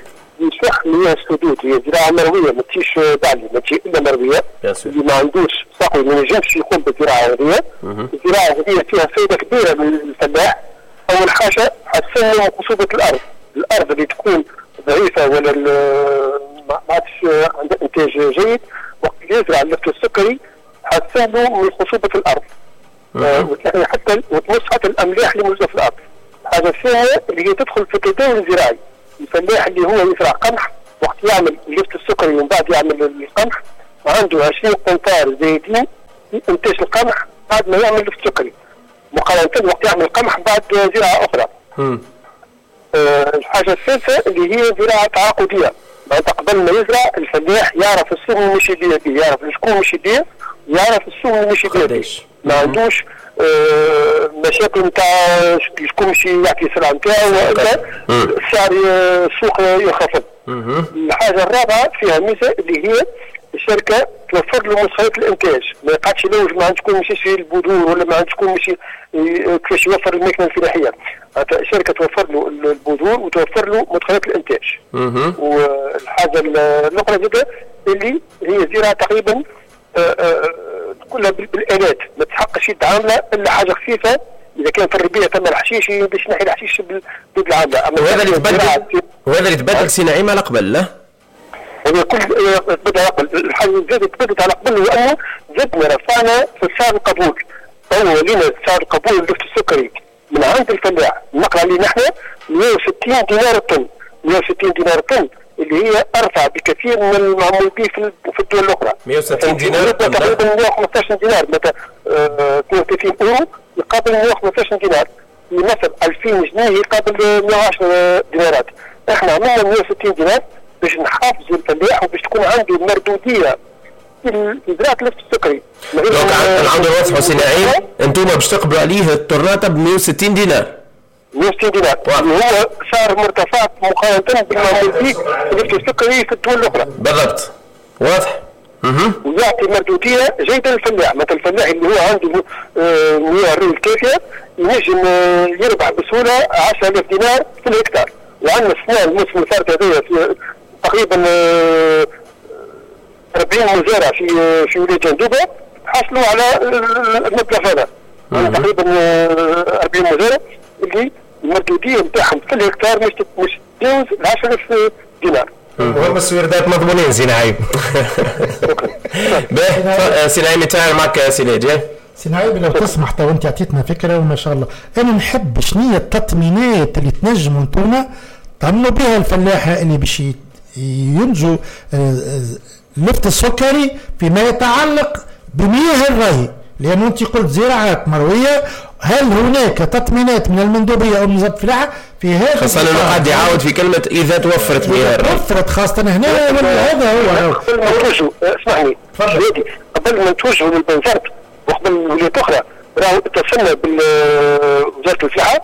لصح مياه السدود، هي زراعة مرويه ما تجيش بعلي، ما تجي الا مرويه، اللي ما عندوش سقي ما ينجمش يقوم بالزراعة هذه. الزراعة هذه فيها فائدة كبيرة للفلاح. اول حاجة حسنوا خصوبة الارض، الارض اللي تكون ضعيفة ولا ما عادش عندها انتاج جيد، وقت يزرع اللفت السكري حسن له من خصوبة الارض حتى وتمص حتى الاملاح اللي موجودة في الارض. الحاجة الثانية اللي هي تدخل في التداول الزراعي، الفلاح اللي هو يزرع قمح وقت يعمل اللفت السكري ومن بعد يعمل القمح عنده عشرين قنطار زايدين في انتاج القمح بعد ما يعمل اللفت السكري، مقارنة وقت يعمل القمح بعد زراعة اخرى. آه الحاجة الثالثة اللي هي زراعة تعاقديه، معناتها قبل ما يزرع الفلاح يعرف السوق اللي مش يبيع به، يعرف شكون مش يبيع، يعرف السوق اللي مش يبيع به، ما عندوش آه مشاكل نتاع شكون مش يعطي السلعة نتاعو والا السعر السوق ينخفض. الحاجة الرابعة فيها ميزة اللي هي الشركة توفر له مدخلات الانتاج، ما يقعدش يلوج ما عند شكون مش يشري البذور ولا ما عند شكون مش كيفاش يوفر الماكينة الفلاحية. الشركة توفر له البذور وتوفر له مدخلات الانتاج. والحاجة الاخرى زاده اللي هي زراعة تقريبا كلها بالالات، ما تحقش يد عامله الا حاجة خفيفة، اذا كان في الربيع ثم الحشيش باش نحي الحشيش ضد العاملة. وهذا اللي تبدل وهذا اللي تبدل سي نعيم على قبل لا؟ هذا كل تبدل على قبل. الحاجة اللي زادت تبدلت على قبل هو انه زدنا رفعنا في سعر القبول، تو ولينا سعر القبول اللفت السكري من عند الفلاح النقل عليه نحن مئة وستين دينار الطن، مئة وستين دينار الطن اللي هي ارفع بكثير من المعمول به في الدول الاخرى. مئة وستين دينار تقريبا مئة وخمسة عشر دينار، مثلا اثنين وثلاثين اورو يقابل مئة وخمسة عشر دينار، في مصر ألفين جنيه يقابل مئة وعشرة دينارات. احنا عملنا مئة وستين دينار باش نحافظوا الفلاح وباش تكون عنده مردوديه في زراعة اللفت السكري. donc نعاودوا نوضحوا سي نعيم، انتم باش تقبلوا عليه الطرناطه ب مئة وستين دينار. مئة وستين دينار اللي هو سعر مرتفع مقارنة بالمعمول به اللفت السكري في الدول الاخرى. بالضبط، واضح. ويعطي مردوديه جيدة للفلاح، مثلا الفلاح اللي هو عنده مياه الري الكافيه ينجم يربح بسهولة عشرة آلاف دينار في الهكتار. وعندنا السنة الموسم الفارط هذايا في تقريبا أربعين مزارع في في ولاية جندوبه حصلوا على المبلغ هذا، تقريبا أربعين مزارع اللي المردوديه نتاعهم في الهكتار مش مش تتجاوز عشرة آلاف دينار. وهم السويردات مضمونين سي نعيم. باهي سي نعيم يتفاعل معك سي ناجي. سي نعيم لو تسمح تو انت عطيتنا فكرة وما شاء الله، انا نحب شنية التطمينات اللي تنجموا انتوما طمنوا بها الفلاحة اللي باش ينجوا اللفت السكري فيما يتعلق بمياه الري، لأنه أنت قلت زراعات مروية، هل هناك تطمينات من المندوبية أو من وزارة الفلاحة في هذا؟ خاصة أنه قاعد يعاود في كلمة إذا توفرت مياه الري. توفرت خاصة هنا هذا هو. قبل ما نتوجهوا اسمعني قبل ما نتوجهوا للبنزرت وقبل الولايات الأخرى راهو اتصلنا بوزارة الفلاحة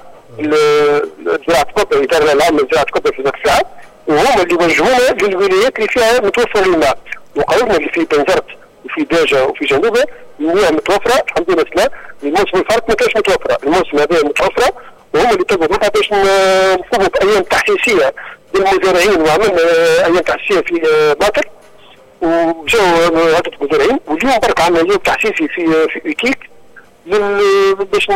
زراعة الكبرى، الإدارة العامة لزراعة الكبرى في وزارة الفلاحة، وهم اللي وجهونا للولايات اللي فيها متوفر الماء، وقالوا لنا اللي في بنزرت وفي باجة وفي جنوبة المياه متوفرة الحمد لله. الموسم الفارط ما كانش متوفرة، الموسم هذا متوفرة، وهم اللي طلبوا منها باش نقوموا بأيام تحسيسية للمزارعين، وعملنا أيام تحسيسية في باطل وجاوا عدة مزارعين، واليوم برك عملنا يوم تحسيسي في في إيكيك باش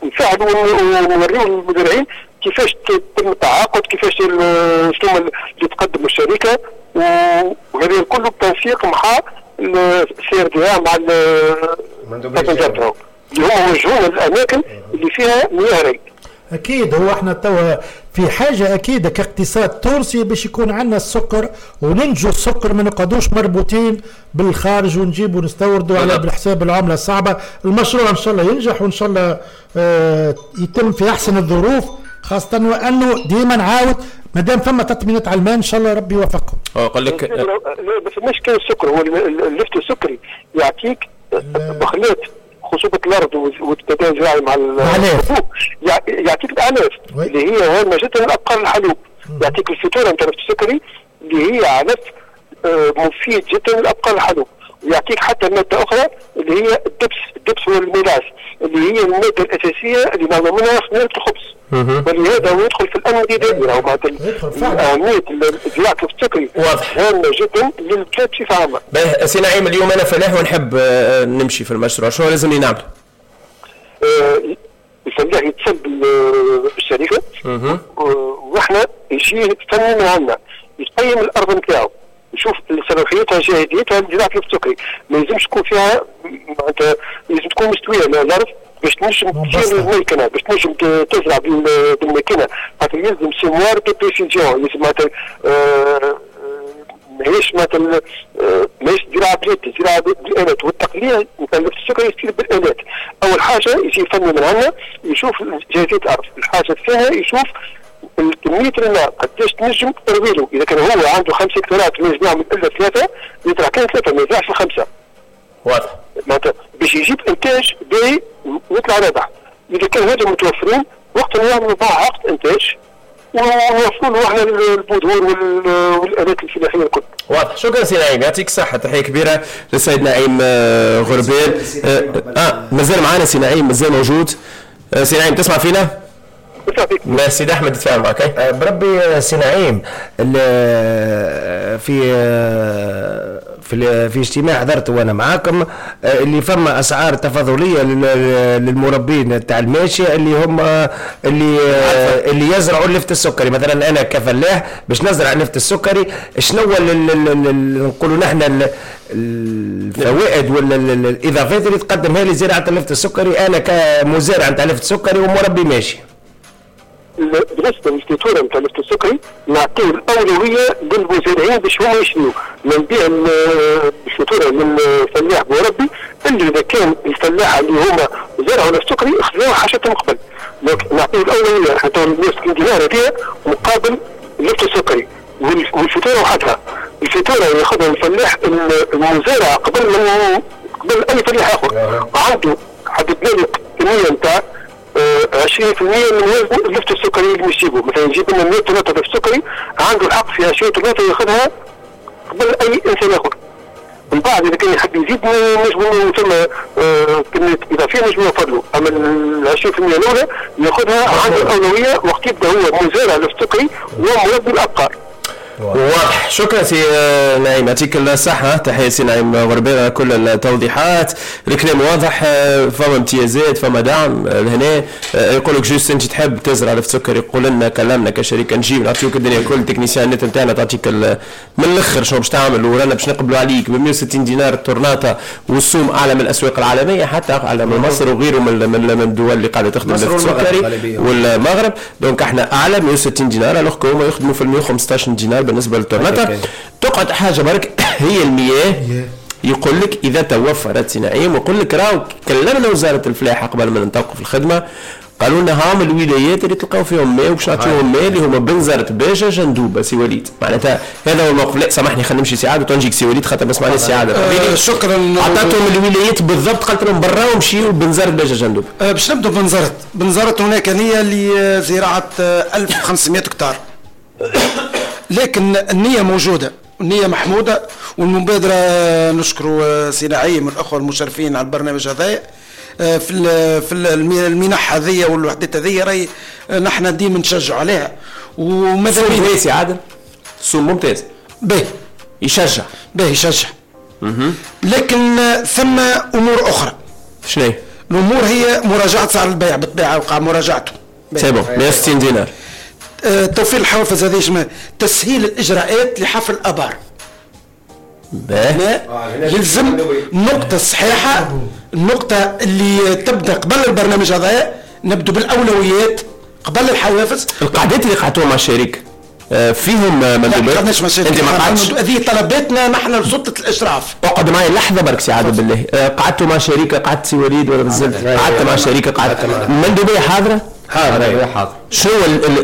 نساعدوا ونوريو للمزارعين كيفاش تم التعاقد، كيفاش شنو اللي تقدم الشركة، وهذا كله بالتنسيق مع ال CRDA مع اللي هما وجهونا الاماكن اللي فيها مياه ري. اكيد هو احنا توا في حاجة اكيد كاقتصاد تونسي باش يكون عندنا السكر وننجو السكر، ما نقعدوش مربوطين بالخارج ونجيبوا ونستوردوا على بالحساب العملة الصعبة. المشروع ان شاء الله ينجح وان شاء الله آه يتم في احسن الظروف، خاصة وانه ديما نعاود ما دام فما تطمينات على الماء ان شاء الله ربي يوفقكم. اه قال لك لا بس مش كان السكر، هو اللفت السكري يعطيك بخلات خصوبة الأرض والتداول الزراعي مع الحبوب، يعطيك الأعلاف اللي هي هامة جدا للأبقار الحلوب، يعطيك الفطورة نتاع السكري اللي هي علف مفيد جدا للأبقار الحلوب، ويعطيك حتى مادة أخرى اللي هي الدبس، الدبس هو ال mélasse اللي هي المادة الأساسية اللي نعمل منها خميرة الخبز، ولهذا هو يدخل في الأمن الغذائي. راهو معناتها أهمية زراعة السكري هامة جدا للبلاد بصفة عامة. باهي سي نعيم، اليوم أنا فلاح ونحب نمشي في المشروع، شنو لازمني نعمل؟ آه الفلاح يتصل بالشركة، واحنا يجي فني من عندنا يقيم الارض نتاعو، يشوف صلاحيتها جاهزيتها لزراعه السكري، ما يلزمش تكون فيها معناتها لازم تكون مستوية الارض باش تنجم تشيل الميكنه، باش تنجم تزرع بالماكينه، خاطر يلزم semoir de précision، لازم معناتها ماهيش معناتها ماهيش زراعة باليد، زراعة بالالات، والتقليع نتاع السكري يصير بالالات. اول حاجة يجي فني من عندنا يشوف جاهزية الارض، الحاجة الثانية يشوف كمية الماء قداش تنجم تروي له، اذا كان هو عنده خمس هكتارات ما ينجم يعمل الا ثلاثة، يزرع كان ثلاثة ما يزرعش الخمسة. واضح. معناتها باش يجيب انتاج باهي ويطلع رابح. اذا كان هذا متوفرين وقت نعملوا معاه عقد انتاج ونوفروا له احنا البذور والالات الفلاحية الكل. واضح، شكرا سي نعيم، يعطيك الصحة، تحية كبيرة للسيد نعيم غربال. اه مازال معنا سي نعيم، مازال موجود. آه سي نعيم تسمع فينا؟ لا سيد احمد تفاهم معك. بربي سي نعيم، في في في اجتماع حضرته وانا معاكم اللي فما اسعار تفاضليه للمربين تاع الماشية اللي هم اللي اللي يزرعوا اللفت السكري. مثلا انا كفلاح باش نزرع اللفت السكري، شنو نقولوا نحن الفوائد ولا الاضافات اللي تقدمها لي زراعة اللفت السكري انا كمزارع نتاع اللفت السكري ومربي ماشي؟ بالنسبة للفاتوره نتاع اللفت السكري نعطيو الاولوية للمزارعين باش هما يشريو، ما نبيع الفاتورة للفلاح مربي الا اذا كان الفلاحة اللي هما زرعوا اللفت السكري خذاو حاجتهم قبل. donc نعطيو الاولوية حتى مية وستين دينار هذه مقابل اللفت السكري والفاتوره وحدها. الفاتورة ياخذها الفلاح المزارع قبل من قبل اي فلاح اخر، عنده حددنا له كمية نتاع عشرين بالمية من وزن اللفت السكري اللي يجيبه. مثلا يجيب لنا مية طنطة لفت سكري، عنده الحق في عشرين طنطة ياخذها قبل اي انسان اخر. من بعد اذا كان يحب يزيد نجمو ثم كمية اضافية نجمو نوفر له، اما ال عشرين بالمية الاولى ياخذها عنده الاولوية وقت يبدا هو مزارع لفت سكري ومربي الابقار. واضح، شكرا سي نعيم، يعطيك الصحة، تحية سي نعيم غربال على كل التوضيحات، الكلام واضح، فما امتيازات فما دعم لهنا. يقول لك juste انت تحب تزرع لفت سكر، يقول لنا كلامنا كشركة نجيب نعطيوك الدنيا كل، ال techniciens نتاعنا تعطيك من الاخر شنو باش تعمل، ورانا باش نقبلوا عليك ب مية وستين دينار التورناطة، والسوم اعلى من الاسواق العالمية، حتى اعلى من مصر وغيره من من الدول اللي قاعدة تخدم لفت السكري والمغرب. donc احنا اعلى مية وستين دينار، alors هما يخدموا في مية وخمسطاش دينار بالنسبة للتورناتا. تقعد حاجة برك هي المياه، يقول لك اذا توفرت سي نعيم، ويقول لك راهو كلمنا وزارة الفلاحة قبل ما ننطلقوا في الخدمة، قالوا لنا هاهم الولايات اللي تلقاو فيهم ماء وباش نعطيوهم ماء اللي هما بنزرت باجة جندوبه سي وليد. معناتها هذا هو الموقف. لا سامحني خلينا نمشي سي عادل وتنجيك سي وليد خاطر ما سمعناش سي عادل. أه شكرا. عطاتهم الولايات بالضبط، قالت لهم برا ومشيوا بنزرت باجة جندوبه. أه باش نبدو بنزرت، بنزرت هناك نيه لزراعه ألف وخمسمية هكتار، لكن النية موجودة، النية محمودة، والمبادرة نشكر سي نعيم والأخوة المشرفين على البرنامج هذا في في المنح هذه والوحدات هذه، راهي نحن ديما نشجعوا عليها. وماذا بينا سي عادل؟ سوم ممتاز، باهي يشجع، باهي يشجع، لكن ثم أمور أخرى. شنو هي؟ الأمور هي مراجعة سعر البيع، بالطبيعة وقع مراجعته. c'est bon مية وستين دينار. توفير الحوافز هذه، تسهيل الاجراءات لحفر الابار. يلزم النقطة الصحيحة، النقطة اللي تبدا قبل البرنامج هذا، نبدو بالاولويات قبل الحوافز. القعدات اللي قعدتوها مع الشريك فيهم مندوبات؟ لا ما انت ما قعدتش، هذه طلباتنا نحن لسلطه الاشراف. اقعد معي لحظة برك سي عادل بالله. قعدتوا مع شريكه، قعدت سي وليد ولا مازلت؟ قعدت مع شريكه، قعدت المندوبيه حاضره؟ حاضر حاضر. شنو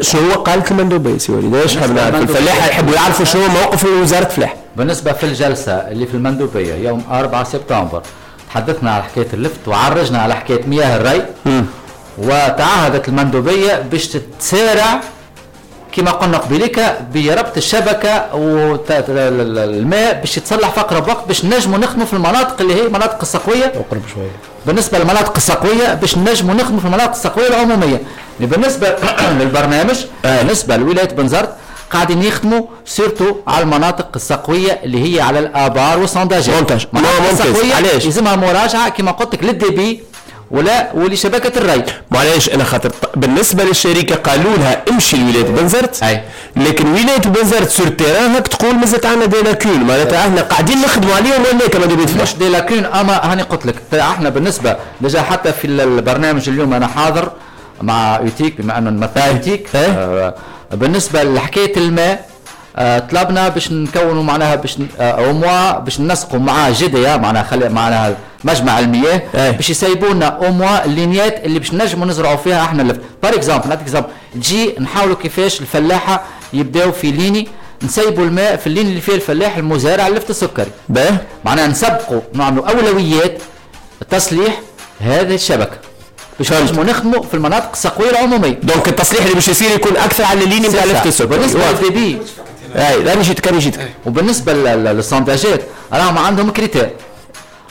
شنو قالت المندوبيه سي وليد؟ ايش حاب نعرف؟ الفلاحة يحبوا يعرفوا شنو موقف وزارة الفلاحة. بالنسبة في الجلسة اللي في المندوبيه يوم أربعة سبتمبر تحدثنا على حكاية اللفت وعرجنا على حكاية مياه الري، وتعهدت المندوبيه باش تسارع كما قلنا قبلك بربط الشبكة والماء باش يتصلح في اقرب وقت باش نجموا نخدموا في المناطق اللي هي مناطق السقويه. اقرب شوية. بالنسبة للمناطق السقويه باش نجموا نخدموا في المناطق السقويه العمومية. بالنسبة للبرنامج بالنسبة لولاية بنزرت قاعدين يخدموا surtout على المناطق السقويه اللي هي على الابار وال sondages. ممتاز. علاش؟ لازمها مراجعه كما قلت لك لل débit ولا ولشبكه الري. معليش انا خاطر بالنسبة للشركة قالوا لها امشي لولاية بنزرت، لكن ولاية بنزرت sur terrain هاك تقول مازالت عندنا des lacunes، معناتها احنا قاعدين نخدموا عليهم ولا كما مش des lacunes. اما هاني قلت لك احنا بالنسبة déjà حتى في البرنامج اليوم انا حاضر مع UTIQ بما انه نمثل UTIQ. آه بالنسبة لحكاية الماء آه طلبنا باش نكونوا معناها باش au moins باش ننسقوا مع GDA معناها خلي معناها مجمع المياه باش يسيبوا لنا au moins اللينيات اللي باش نجموا نزرعوا فيها احنا اللفت. par exemple نعطيك exemple تجي نحاولوا كيفاش الفلاحة يبداو في ligne نسيبوا الماء في ال ligne اللي فيه الفلاح المزارع اللفت السكري. باه معناها نسبقوا نعملوا اولويات تصليح هذه الشبكة باش نجموا نخدموا في المناطق السقويه العمومية. donc التصليح اللي باش يصير يكون اكثر على ال ligne نتاع اللفت السكري. بالنسبة لل débit اي لا نجيتك انا جيتك. وبالنسبة لل sondage ات راهم عندهم critère.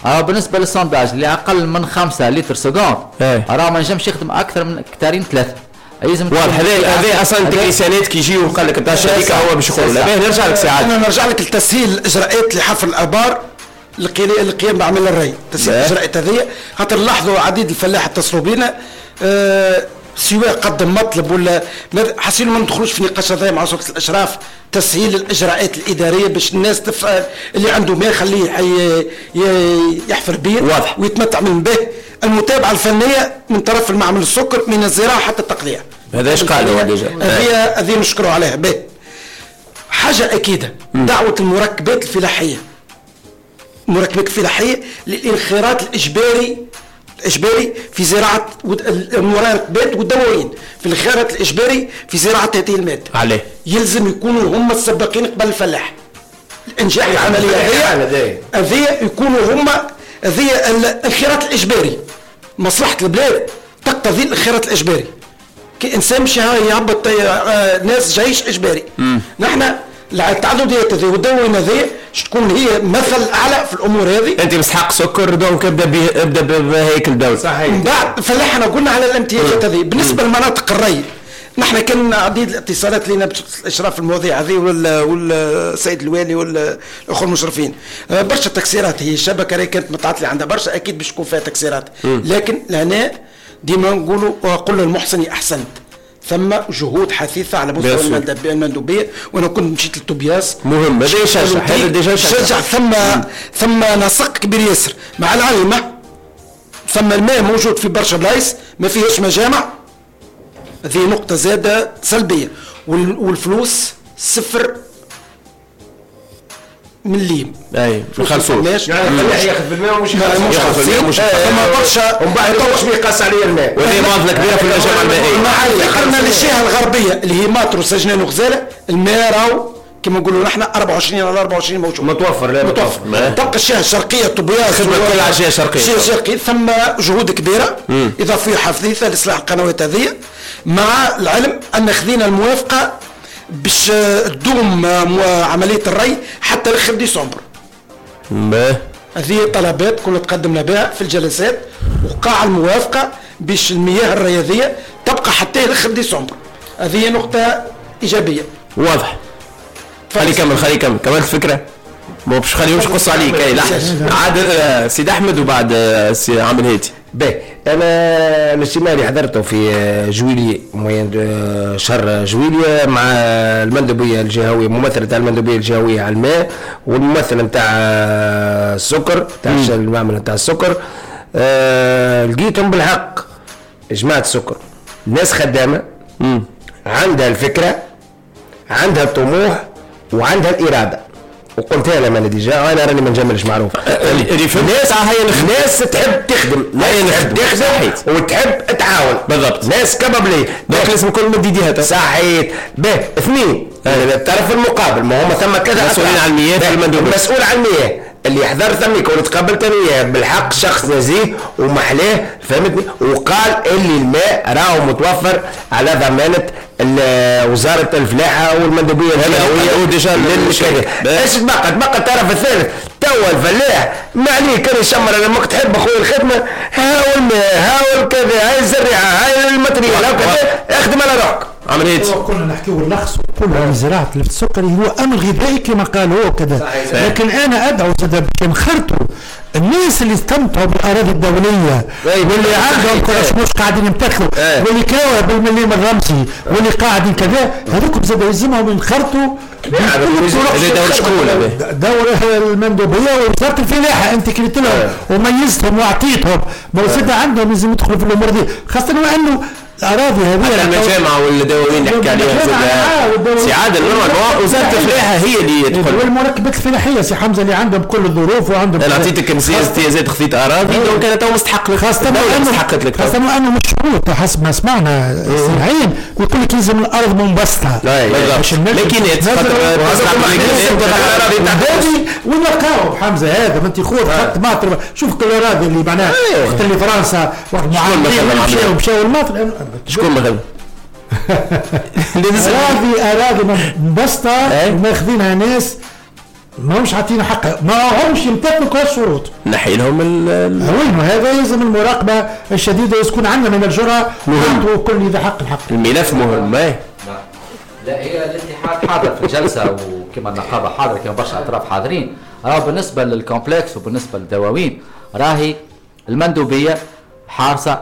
راه بالنسبة لل sondage اللي اقل من خمسة litres seconde راه ما نجمش يخدم اكثر من هكتارين ثلاثة. لازم واضح هذا هذا اصلا ال technicien ات كي يجيو وقال لك نتاع الشركة هو باش يقولوا لا. باهي نرجع لك ساعات. انا نرجع لك لتسهيل الاجراءات لحفر الابار القيام بعمل الري، تسهيل الاجراءات هذه خاطر لاحظوا عديد الفلاح اتصلوا بينا أه سواء قدم مطلب ولا حاسين ما ندخلوش في نقاش هذا مع سلطة الاشراف. تسهيل الاجراءات الادارية باش الناس تفعل اللي عنده ماء خليه يحفر بيه واضح ويتمتع من به. المتابعة الفنية من طرف المعمل السكر من الزراعة حتى التقليع. هذا ايش قالوا déjà هذه هذه نشكروا عليها. به حاجة اكيدة دعوه المركبات الفلاحية المركبات الفلاحية للانخراط الاجباري الإجباري في زراعة المركبات والدواوين في الانخراط الإجباري في زراعة هذه المادة. عليه يلزم يكونوا هم السباقين قبل الفلاح. الإنجاح العملية هذه هذه يكونوا هم هذه الانخراط الإجباري. مصلحة البلاد تقتضي الانخراط الإجباري. كإنسان مش يهبط ناس جيش إجباري. نحن التعدديات هذه والدواوين هذه تكون هي مثل اعلى في الامور هذه. انت مسحق سكر donc ابدا به ابدا بهيكل الدولة. صحيح. من بعد فلاحنا قلنا على الامتيازات هذه. بالنسبة لمناطق الري نحن كان عديد الاتصالات لنا باشراف المواضيع هذه والسيد الوالي والاخوة المشرفين. برشا تكسيرات هي الشبكة راهي كانت متعطلة عندها برشا اكيد باش تكون فيها تكسيرات، لكن لهنا ديما نقولوا قل للمحسن احسنت. ثم جهود حثيثة على مستوى المندوبية، وأنا كنت مشيت للتوبياس. مهم هذا يشجع، هذا déjà يشجع. ثم ثم نسق كبير ياسر مع العلم. ثم الماء موجود في برشا بلايص ما فيهاش مجامع، هذه نقطة زادة سلبية. والفلوس صفر مليم. اي ما خلصوش يعني الفلاح ياخذ بالماء ومش ياخذ بالماء ومش ثم برشا ومن بعد مش يقاس عليه الماء، وهذه معضلة كبيرة في المجامع المائية. مع ذكرنا للجهة الغربية اللي هي ماطر وسجنان وغزاله، الماء راهو كما نقولوا نحن أربعة وعشرين على أربعة وعشرين موجود متوفر. لا متوفر. تبقى الجهة الشرقية طبياس خدمة كل على الجهة الشرقية. الجهة الشرقية ثم جهود كبيرة اضافية حثيثه لاصلاح القنوات هذه، مع العلم ان خذينا الموافقة باش تدوم عملية الري حتى اخر ديسمبر. هذه طلبات كنا تقدمنا بها في الجلسات وقع الموافقة باش المياه الرياضية تبقى حتى اخر ديسمبر. هذه نقطة ايجابية. واضح. خلي كمل خلي كمل كملت الفكرة. مو باش خليهمش يقصوا عليك. اي لحظة عاد سيد احمد وبعد سي عامل هادي. باهي انا الاجتماع اللي حضرته في جويلية moyen شهر جويلية مع المندوبيه الجهوية، ممثلة تاع المندوبيه الجهوية على الماء والممثل نتاع السكر تاع المعمل نتاع السكر. أه لقيتهم بالحق جماعة السكر ناس خدامه عندها الفكرة، عندها الطموح، وعندها الارادة. وقلتها لما انا déjà انا راني ما نجملش معروف. الناس ناس تحب تخدم، ناس تحب تخدم وتحب تعاون. بالضبط. ناس capables donc لازم كل مد يديها. صحيت. به اثنين الطرف المقابل، ما هما ثم كذا مسؤولين على المياه في المندوبيه. المسؤول على المياه اللي حضر ثميك واللي تقابلت انا وياه بالحق شخص نزيه ومحلاه، فهمتني، وقال اللي الماء راهو متوفر على ضمانه وزارة الفلاحة والمندوبيه الجهوية déjà. ايش تبقى؟ تبقى الطرف الثالث توا الفلاح ما عليه كان يشمر انا ماك تحب اخويا الخدمة، هاو الماء هاو الكذا هاي الزريعه هاي ال matériel هاو كذا، اخدم على روحك. عملية كنا نحكيو نلخص نقولوا عن زراعة اللفت السكري هو امر غذائي كما قال هو كذا، لكن انا ادعو زاد باش نخرطوا الناس اللي استمتعوا بالاراضي الدولية واللي عندهم كراش مش قاعدين يمتثلوا واللي كراوها بالمليم الرمزي واللي قاعدين كذا، هذوك زاد يلزمهم ينخرطوا. دور شكون؟ دور المندوبيه ووزارة الفلاحة، انت كليت لهم وميزتهم واعطيتهم، ما زاد عندهم لازم يدخلوا في الامور دي، خاصة وانه الاراضي هذه المجامع والدواوين اللي حكى عليها زاد سي عادل، وزارة الفلاحة هي اللي تدخل والمركبات الفلاحية سي حمزة اللي عندهم كل الظروف وعندهم. انا عطيتك امتيازات خذيت اراضي donc انا تو مستحق لك، خاصة مستحقت لك، خاصة انه مش شروط حسب ما سمعنا سي يقول لك لازم الارض منبسطه لكن وين لقاو حمزة هذا؟ ما انت خذ خط ماطر، شوف كل الاراضي اللي معناها وقت اللي فرنسا وقت مشاو مشاو الماطر شكون مثلا؟ اراضي اراضي منبسطه وماخذينها ناس ما همش عاطينا حقها، ما همش يمتثلوا كل الشروط. نحي لهم ال وين هذا لازم المراقبة الشديدة يكون عندنا من الجرأة نعطوا كل ذي حق حق. الملف مهم. لا لا هي الاتحاد حاضر في الجلسة وكما النقابة حاضره كما برشا اطراف حاضرين. راه بالنسبة لل complexe وبالنسبة للدواوين راهي المندوبيه حارسه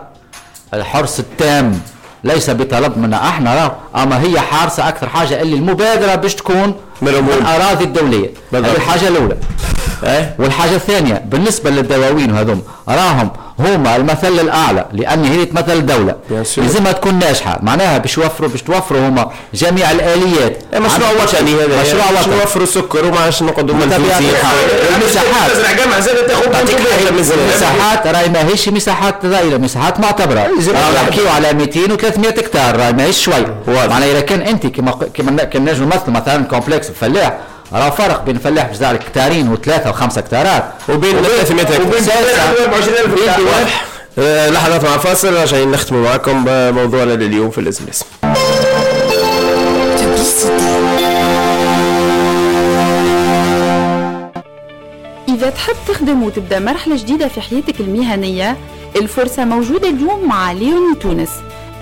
الحرص التام، ليس بطلب منا احنا راه، اما هي حارسه اكثر حاجة اللي المبادرة باش تكون من الاراضي الدولية. هذه الحاجة الاولى. أه؟ والحاجة الثانية بالنسبة للدواوين هذوم راهم هما المثل الاعلى، لان هي تمثل الدولة لازمها تكون ناجحة، معناها باش يوفروا باش توفروا هما جميع الاليات. مشروع وطني هذا، مشروع وطني نوفروا سكر وما عادش نقعدوا منفوسين. المساحات المساحات راهي ماهيش مساحات ضئيلة، مساحات معتبره. نحكيو على مئتين وثلاثمئة هكتار، راهي ماهيش شوي. معناها اذا كان انت كما كما كما نجم نمثل مثلا complexe الفلاح، راه فرق بين فلاح باش يزرع هكتارين وثلاثة وخمسة هكتارات وبين ثلاثمئة هكتار وبين أربعة وعشرين ألف هكتار. لحظات مع فاصل راجعين نختموا معكم موضوعنا لليوم في الازم لازم. إذا تحب تخدم وتبدأ مرحلة جديدة في حياتك المهنية، الفرصة موجودة اليوم مع ليوني تونس،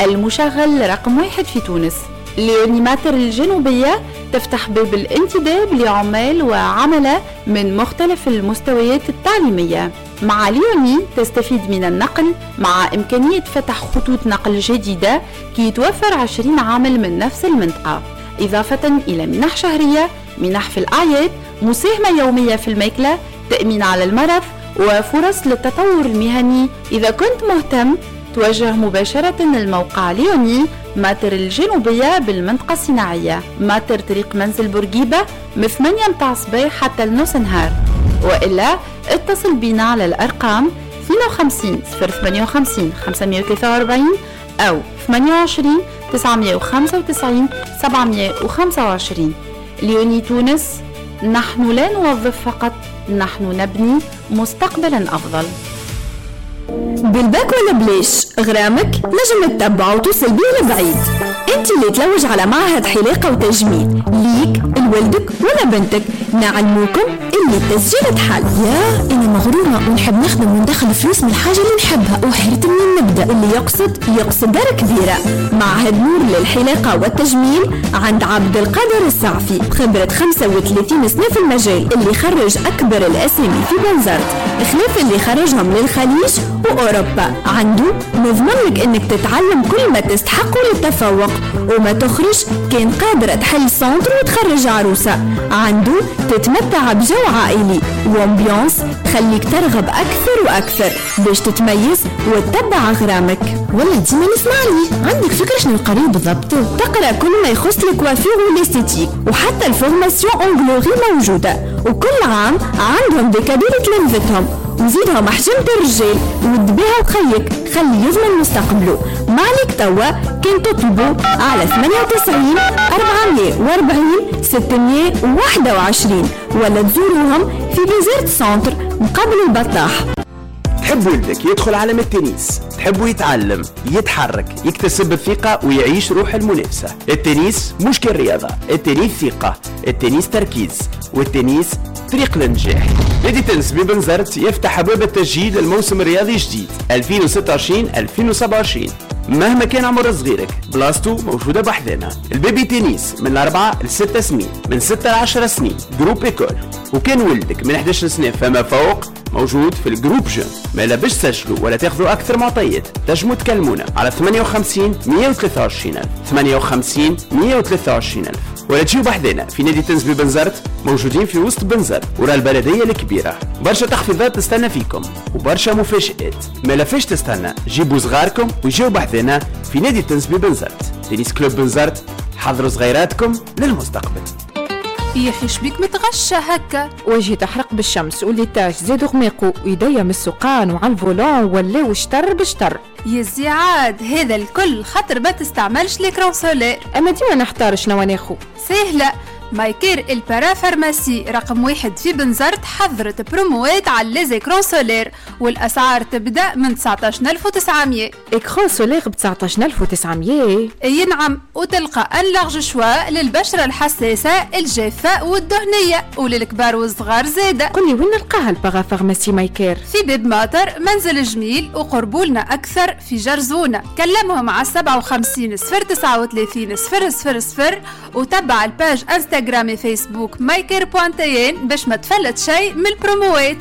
المشغل رقم واحد في تونس. ليوني ماتر الجنوبية تفتح باب الانتداب لعمال وعملاء من مختلف المستويات التعليمية. مع ليوني تستفيد من النقل مع إمكانية فتح خطوط نقل جديدة كي يتوفر عشرين عامل من نفس المنطقة، إضافة إلى منح شهرية، منح في الأعياد، مساهمة يومية في الماكلة، تأمين على المرض، وفرص للتطور المهني. إذا كنت مهتم توجه مباشرة للموقع ليوني ماتر الجنوبية بالمنطقة الصناعية، ماتر طريق منزل بورقيبة من ثمانية متاع الصباح حتى النص نهار، وإلا اتصل بنا على الأرقام اثنين وخمسين صفر ثمانية وخمسين خمسمية وثلاثة وأربعين أو ثمانية وعشرين تسعمية وخمسة وتسعين سبعمية وخمسة وعشرين. ليوني تونس، نحن لا نوظف فقط، نحن نبني مستقبلا أفضل. بالباك ولا بلاش غرامك نجم تتبعه وتوصل بيه لبعيد. انت اللي تلوج على معهد حلاقة وتجميل ليك لولدك ولا بنتك، نعلموكم اللي التسجيل تحل. يا انا مغرومة ونحب نخدم وندخل فلوس من الحاجة اللي نحبها وحيرت منين نبدا. اللي يقصد يقصد دار كبيرة. معهد نور للحلاقة والتجميل عند عبد القادر السعفي، خبرة خمسة وثلاثين سنة في المجال، اللي خرج أكبر الأسامي في بنزرت خلاف اللي خرجهم للخليج وأوروبا. عنده نضمن لك انك تتعلم كل ما تستحقه للتفوق وما تخرج كان قادرة تحل centre وتخرج عروسة. عنده تتمتع بجو عائلي و ambiance تخليك ترغب أكثر وأكثر باش تتميز وتتبع غرامك. والله ديما نسمع لي. عندك فكرة شنو القريب بالضبط؟ تقرأ كل ما يخص ال coiffure وال esthétique، وحتى ال formation onglerie موجودة، وكل عام عندهم des cadeaux لتلامذتهم. وزيدهم حجمة الرجال ودبيها وخيك خلي يضمن مستقبله. ما عليك توا كان تطلبوا على ثمانية وتسعين أربعمية وأربعين ستمية وواحد وعشرين ولا تزوروهم في بنزرت centre مقابل البطاح. تحب ولدك يدخل عالم التنس، تحبه يتعلم، يتحرك، يكتسب الثقة ويعيش روح المنافسة. التنس مش كالرياضة، التنس ثقة، التنس تركيز، والتنس طريق للنجاح. نادي تنس ببنزرت يفتح أبواب التسجيل للموسم الرياضي الجديد ألفين وستة وعشرين ألفين وسبعة وعشرين. مهما كان عمر صغيرك بلاصتو موجودة بحذنا. ال baby tennis من أربعة لستة سنين، من ستة لعشرة سنين groupe école. وكان ولدك من إحدى عشر سنة فما فوق موجود في ال groupe jeunes. ما لا باش تسجلوا ولا تاخذوا اكثر معطيات تنجموا تكلمونا على ثمانية وخمسين مية وثلاثة وعشرين ألف، ثمانية وخمسين مية وثلاثة وعشرين ألف، ولا تجيو بحذنا في نادي تنس ببنزرت، موجودين في وسط بنزرت ورا البلدية الكبيرة. برشا تخفيضات تستنى فيكم وبرشا مفاجآت، ما لا فاش تستنى، جيبوا صغاركم ويجيو بحذنا في نادي تنس ببنزرت. Tennis Club بنزرت، حضروا صغيراتكم للمستقبل. يا اخي شبيك متغشى هكا؟ وجهي تحرق بالشمس و les taches زادوا غميقوا ويديا من السوقان وعلى ال volant ولاو شتر بشتر. يا زيعاد هذا الكل خاطر ما تستعملش l'écran solaire. اما ديما نحتار شنو ناخو. سهلة، مايكير ال parapharmacie رقم واحد في بنزرت حضرت بروموات على les écrans solaires والاسعار تبدا من تسعطاش ألف وتسعمية. écran solaire ب تسعطاش ألف وتسعمية؟ اي نعم، وتلقى un large choix للبشره الحساسة الجافه والدهنيه وللكبار والصغار زاده. قولي وين نلقاها ال parapharmacie مايكير؟ في باب ماطر منزل جميل وقربولنا اكثر في جرزونه. كلمهم على سبعة وخمسين صفر تسعة وثلاثين صفر صفر صفر وتبع ال page انستغرام فيسبوك مايكير بوانتين باش ما تفلت شيء من البروموات.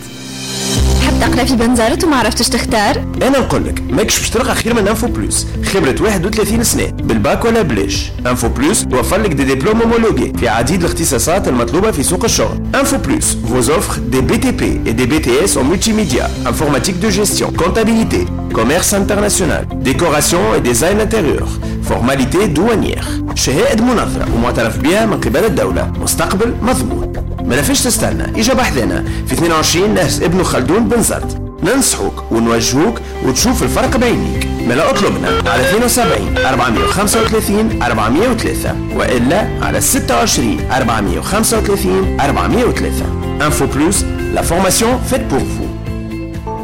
تحب تقرا في بنزرت وما عرفتش تختار؟ انا نقول لك ماكش باش تلقى خير من Info Plus، خبره واحد وثلاثين سنة بالباك ولا بلاش. Info Plus توفر لك des diplômes homologués في عديد الاختصاصات المطلوبة في سوق الشغل. Info Plus vous offre des بي تي بي et des بي تي إس en multimédia, informatique de gestion, comptabilité, commerce international, décoration et design intérieur, formalité douanière. شهائد منظرة ومعترف بها من قبل الدولة، مستقبل مضمون. ما فيش تستنى، اجا بحذنا في اثنين وعشرين نهج ابن خلدون بنزرت، ننصحوك ونوجهوك وتشوف الفرق بعينيك. ما اطلبنا على اثنين وسبعين أربعمية وخمسة وثلاثين أربعمية وثلاثة والا على ستة وعشرين أربعمية وخمسة وثلاثين أربعمية وثلاثة. Info Plus, la formation faite pour vous.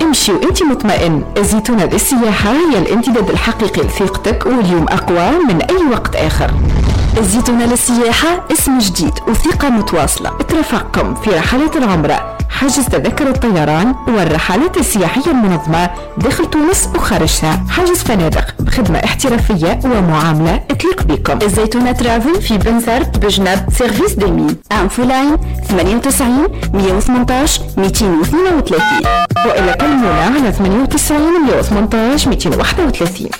امشي وانت مطمئن، الزيتونة للسياحة هي الامتداد الحقيقي لثقتك واليوم أقوى من أي وقت آخر. الزيتونة للسياحة اسم جديد وثقة متواصلة ترافقكم في رحلات العمرة، حجز تذاكر الطيران والرحلات السياحية المنظمة داخل تونس وخارجها، حجز فنادق بخدمة احترافية ومعاملة تليق بكم. الزيتونة Travel في بنزرت بجنب service des mines. Infoline ثمانية وتسعين مية وثمنطاش مئتين واثنين وثلاثين وإلا كلمونا على ثمانية وتسعين مية وثمنطاش مئتين وواحد وثلاثين.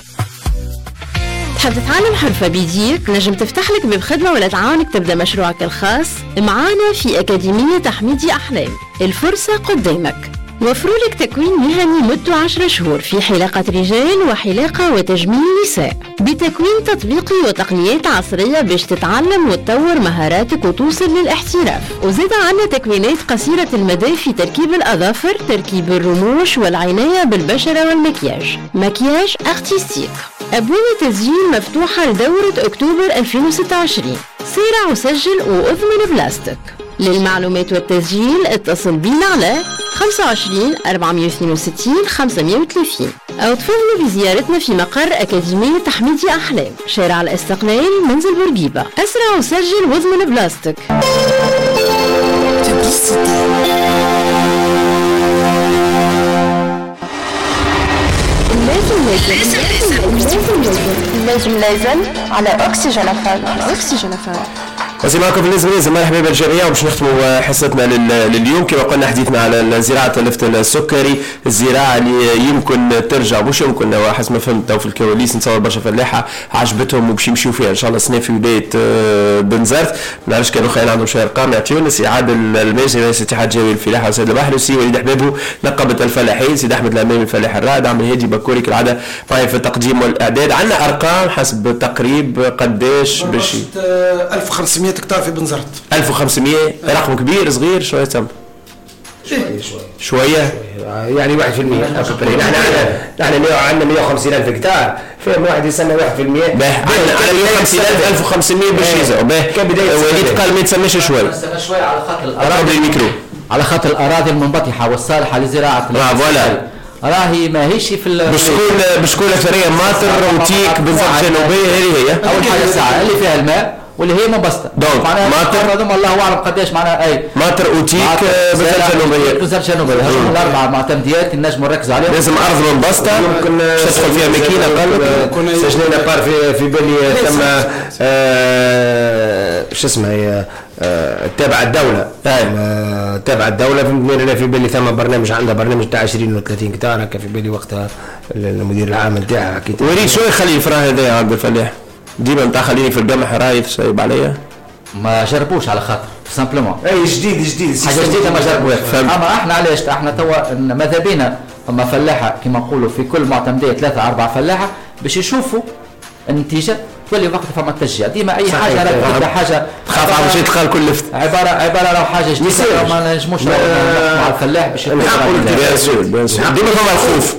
تحب تتعلم حرفة بيديك؟ نجم تفتح لك باب خدمة ولا تعاونك تبدأ مشروعك الخاص؟ معانا في أكاديمية تحميدي أحلام، الفرصة قدامك. وفروا لك تكوين مهني مدته عشرة شهور في حلاقة رجال وحلاقة وتجميل نساء، بتكوين تطبيقي وتقنيات عصرية باش تتعلم وتطور مهاراتك وتوصل للاحتراف. وزاد عنا تكوينات قصيرة المدى في تركيب الأظافر، تركيب الرموش والعناية بالبشرة والمكياج، maquillage artistique. أبواب التسجيل مفتوحة لدورة أكتوبر ألفين وستة وعشرين. سارع وسجل وأضمن بلاستك. للمعلومات والتسجيل اتصل بينا على خمسة وعشرين أربعمية واثنين وستين خمسمية وثلاثين أو تفضلوا بزيارتنا في مقر أكاديمية تحميدي أحلام، شارع الاستقلال، منزل بورقيبة. أسرع وسجل واضمن بلاستك. لازم لازم لازم لازم لازم على أكسجين أفهم. أكسجين أفهم. وزي معكم في لازم لازم. مرحبا بالجميع وباش نختموا حصتنا لليوم كما قلنا حديثنا على زراعة اللفت السكري، الزراعة اللي يمكن ترجع مش يمكن حسب ما فهمت في الكواليس نتصور برشا فلاحة عجبتهم وباش يمشيو فيها ان شاء الله سنة في ولاية بنزرت. ما نعرفش كانوا خيال عندهم شوية ارقام يعطيونا. سي عادل الماجري رئيس اتحاد جوي الفلاحة وسيد البحر، وسي وليد حبابو نقابة الفلاحين، سيد احمد الامامي الفلاح الرائد، عم الهادي بكوري كالعادة معي في التقديم والاعداد. عندنا ارقام حسب تقريب قداش باش ألف وخمسمية هكتار في بنزرت. ألف وخمسمية رقم كبير صغير شوية تم شوية شوية يعني واحد في المية. نحن نحن عندنا مية وخمسين ألف هكتار، فيهم واحد يسمى واحد في المية. عندنا مية وخمسين ألف ألف وخمسمية باش يزعوا. وليد قال ما يتسماش شوية، شوية على خاطر الأراضي الميكرو، على خاطر الأراضي المنبطحة والصالحة لزراعة آه voilà راهي ماهيش في باش تكون باش تكون أكثرية ماطر وتيك بنزرت الجنوبية. هذه هي أول حاجة الساعة اللي فيها الماء واللي هي منبسطه. donc ماطر هذوما الله اعلم قداش معناها. اي ماطر اوتيك بنزرت الجنوبية، بنزرت الجنوبية هذوما الاربعة معتمديات نجموا نركزوا عليهم. لازم ارض منبسطه يمكن تدخل فيها ماكينة. قال لك سجلنا بار في في بالي ثم آه شو اسمها هي آه، تابع الدولة آه، تابع الدولة، فهمتني؟ انا في بالي ثم برنامج، عندها برنامج تاع عشرين ولا ثلاثين هكتار هكا في بالي، وقتها المدير العام نتاعها حكيت. وليد، شو يخلي ال frein هذا عند الفلاح؟ ديما نتاع خليني في القمح رايف سايب عليا. ما جربوش على خاطر simplement اي جديد جديد. حاجة جديدة ما جربوهاش. اما احنا علاش احنا توا ماذا بينا فما فلاحة كما نقولوا في كل معتمديه ثلاثة اربعة فلاحة باش يشوفوا النتيجه، تولي وقت فما تشجيع. ديما اي حاجة راك حاجة تخاف على شيء تدخل كل لفت. عباره عباره لو حاجة جديدة ما نجموش مع الفلاح باش bien sûr، bien sûr، ديما فما الخوف.